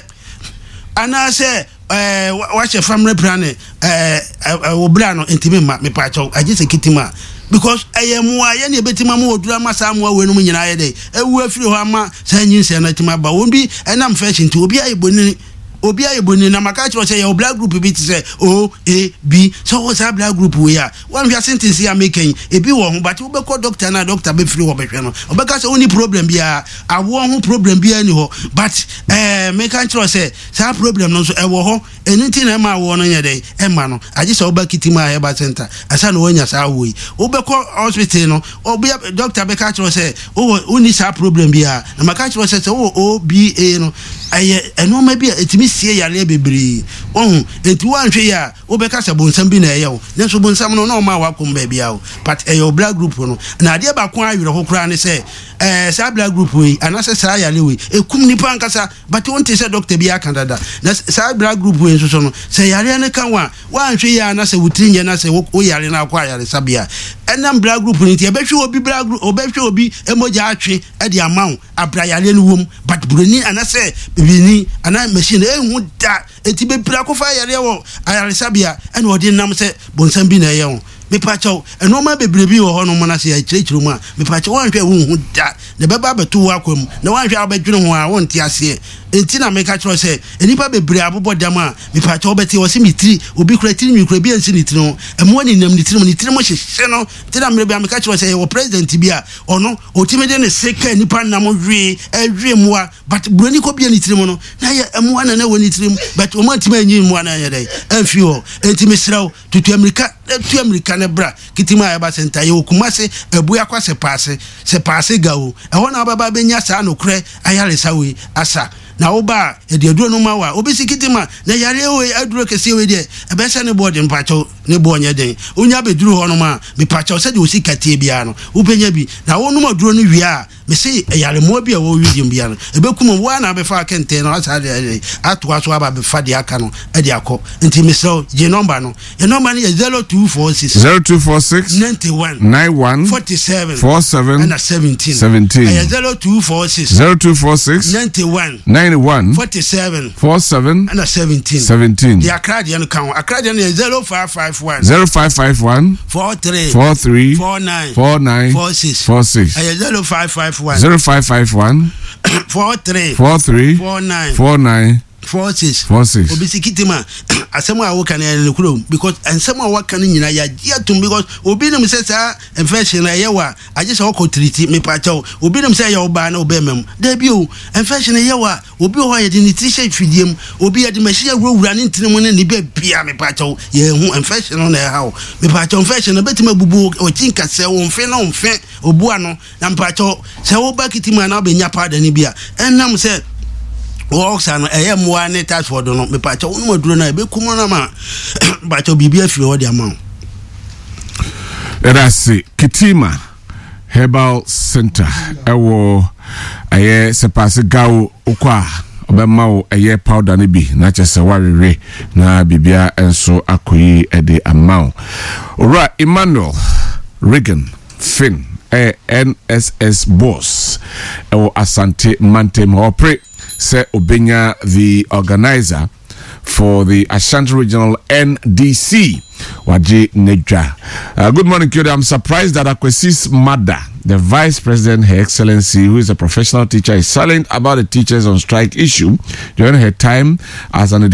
Anaasɛ ɛɛ wahyɛ family planning ɛɛ ɛɛ wo bra no ntumi mma mepaakyɛw agye sɛ kitima because ɛyɛ mmoa yɛ ne ebetumi ama oduru ama saa mmoa wei nom nyinaa yɛ dɛ ewu afiri hɔ ama saa nyinsɛn no atumi aba wɔn bi ɛnam fɛs nti obi ayɛ bonini obi ayɛ bonini na maka kyerɛ sɛ yɛwɔ blood group bi te sɛ O A B sɛ ɔwɔ saa blood group wei a wɔnhwɛ asentence a meka yi ebi wɔ ho but wobɛkɔ doctor na doctor bɛfiri hɔ bɛhwɛ no ɔbɛka sɛ wonni problem biara awoɔ ho problem biara ni hɔ but ɛɛ meka nkyerɛ sɛ Saa problem no nso ɛwɔ hɔ, ɛno nti na ɛma awoɔ no nyɛ dɛn, ɛmma no. Agye sɛ woba Kitima Herbal Centre ansa na woanya saa awoɔ yi. Wobɛkɔ hospital no, ɔbea, doctor bɛka akyerɛ wo sɛ wowɔ, wonni saa problem biara. Na maka akyerɛ wo sɛ, sɛ wowɔ OBA no, ɛyɛ nnoɔma bi a ɛtumi sie yareɛ bebree. Wahu? Enti woanhwɛ yie a, wobɛka sɛ bonsam bi na ɛyɛ wo. Nanso bonsam no, na ɔmmaa w'akoma baabiara o. But ɛyɛ wo blood group no. Na adeɛ baako a awerɛho koraa ne sɛ, ɛɛ, saa blood group wei, anaasɛ saa yareɛ wei, ɛkum nnipa ankasa. But wonte sɛ doctor bi aka dada. Na saa blood group wei nso so no, sɛ yareɛ no ka wo a, woanhwɛ yie a na sɛ wo tiri nyɛ na sɛ wo yare na akɔ ayaresabea a, ɛnam blood group no nti, ɛbɛhwɛ obi blood group, ɔbɛhwɛ obi mogya atwe de ama wo abira yareɛ no wom. But buroni anasɛ bibini anaa machine ɛnhu da. Enti bebree akɔfa yareɛ wɔ ayaresabea ɛna ɔde nam sɛ bonsam bi na ɛyɛ wo. Mepakyɛw, nnoɔma bebree bi wɔ hɔ nom na sɛ yɛkyerɛkyerɛ mu a, mepakyɛw woanhwɛ a wonhu da, na ɛbɛba abɛto wo akwan mu, na woanhwɛ a wobɛdwene ho a wonte aseɛ. Enti na meka kyerɛ wo sɛ, nnipa bebree abobɔ dam a, mepakyɛw wobɛte, wɔse me tiri, obi koraa tiri nwi koraa bi ansi ne tiri ho, mmoa nenam ne tiri mu, ne tiri mu hyehye no. Nti na mmerɛ bi a meka kyerɛ wo sɛ yɛwɔ president bi a, ɔno, ɔtumi de ne se ka nnipa nam we, ɛwe mmoa, but buroni kɔbie ne tiri mu no, na ɛyɛ mmoa na na ɛwɔ ne tiri mu, but wɔn antumi anyi mmoa no anyɛ dɛn, amfiri hɔ. Enti mesrɛ wo, Tutu amirika na tu amirika na bra Kitima Herbal Center. Yɛwɔ Kumasi, Abuakwa Sepaase, Sepaase Gawo. Ɛhɔ na wobɛba abɛnya saa nokorɛ ayaresa wei asa. Na woba a, yɛde aduro no ma wo a, wobɛsi Kitima. Na yareɛ wei, aduro kɛseɛ wei deɛ, ɛbɛyɛ sɛ ne boɔ den, mpakyɛw, ne boɔ nyɛ den. Wonya bɛduru hɔnom a, mepakyɛw, sɛdeɛ wo sika teɛ biara no, wobɛnya bi. Na wonom aduro no wie a, Mese ayaremmoa bi a ɛwɔ wo wedeɛ mu biara no, ɛbɛkum wɔn. Wo ara na wobɛfa kɛntɛn no asan de atoa so aba abɛfa deɛ aka no de akɔ. Nti mesrɛ wo, gye nɔmba no. Yɛn nɔmba no yɛ 0246. 0246. 91. 91. 47. 47. Ɛna 17. 17. Ɛyɛ 0246. 0246. 91. 91. 47. 47. Ɛna 17. 17. Deɛ Accra deɛ no ka ho. Accra deɛ no yɛ 0551. 0551. 43. 43. 49. 49. 46. 46. Ɛyɛ 0551. 0551. 43. 43. 49. 49. 46. 46. Obi si kitima asɛm a woka no ɛyɛ nokorɛ o because nsɛm a waka no nyinaa yɛagye atom because obi nim sɛ saa infection no ɛyɛ wo a agye sɛ wokɔ tiriti mepakyɛw obi nim sɛ ɛyɛ wo baa na wobɛɛma mu daabi o infection ɛyɛ wo a obi wɔ hɔ a yɛde ne tiri hyɛ fidie mu obi yɛde machine awurawura ne ntini mu ne ne baabi a mepakyɛw yɛhu infection no na ɛha wo mepakyɛw infection no bɛtumi abubu ɔkyi nkasɛ wo mfe no mfe obu ano Na mpakyɛw, sɛ woba kiti mu a na wobɛnya powder no bi a, ɛnam sɛ wɔsa no ɛyɛ mmoa ne typhoid no, mepakyɛw wonom aduro no a ɛbɛkum no ama mpakyɛw biribi afiri hɔ de ama wo. Yɛda ase Kitima Herbal Center ɛwɔ ɛyɛ Sɛpaase Gawo wokɔ a ɔbɛma wo ɛyɛ powder no bi na kyɛ sɛ woawewe na biribia nso akɔ yi ɛde ama wo. Owura Emmanuel Regan Finn yɛ NSS boss wɔ Asante mantam hɔ. Ɔpere sɛ obenya the organiser for the Ashanti Regional NDC. Wagye n'adwa. Good morning, Kyodo. I'm surprised that Akwesi's mother, the Vice President, Her Excellency, who is a professional teacher, is silent about the teachers on strike issue during her time as an educator.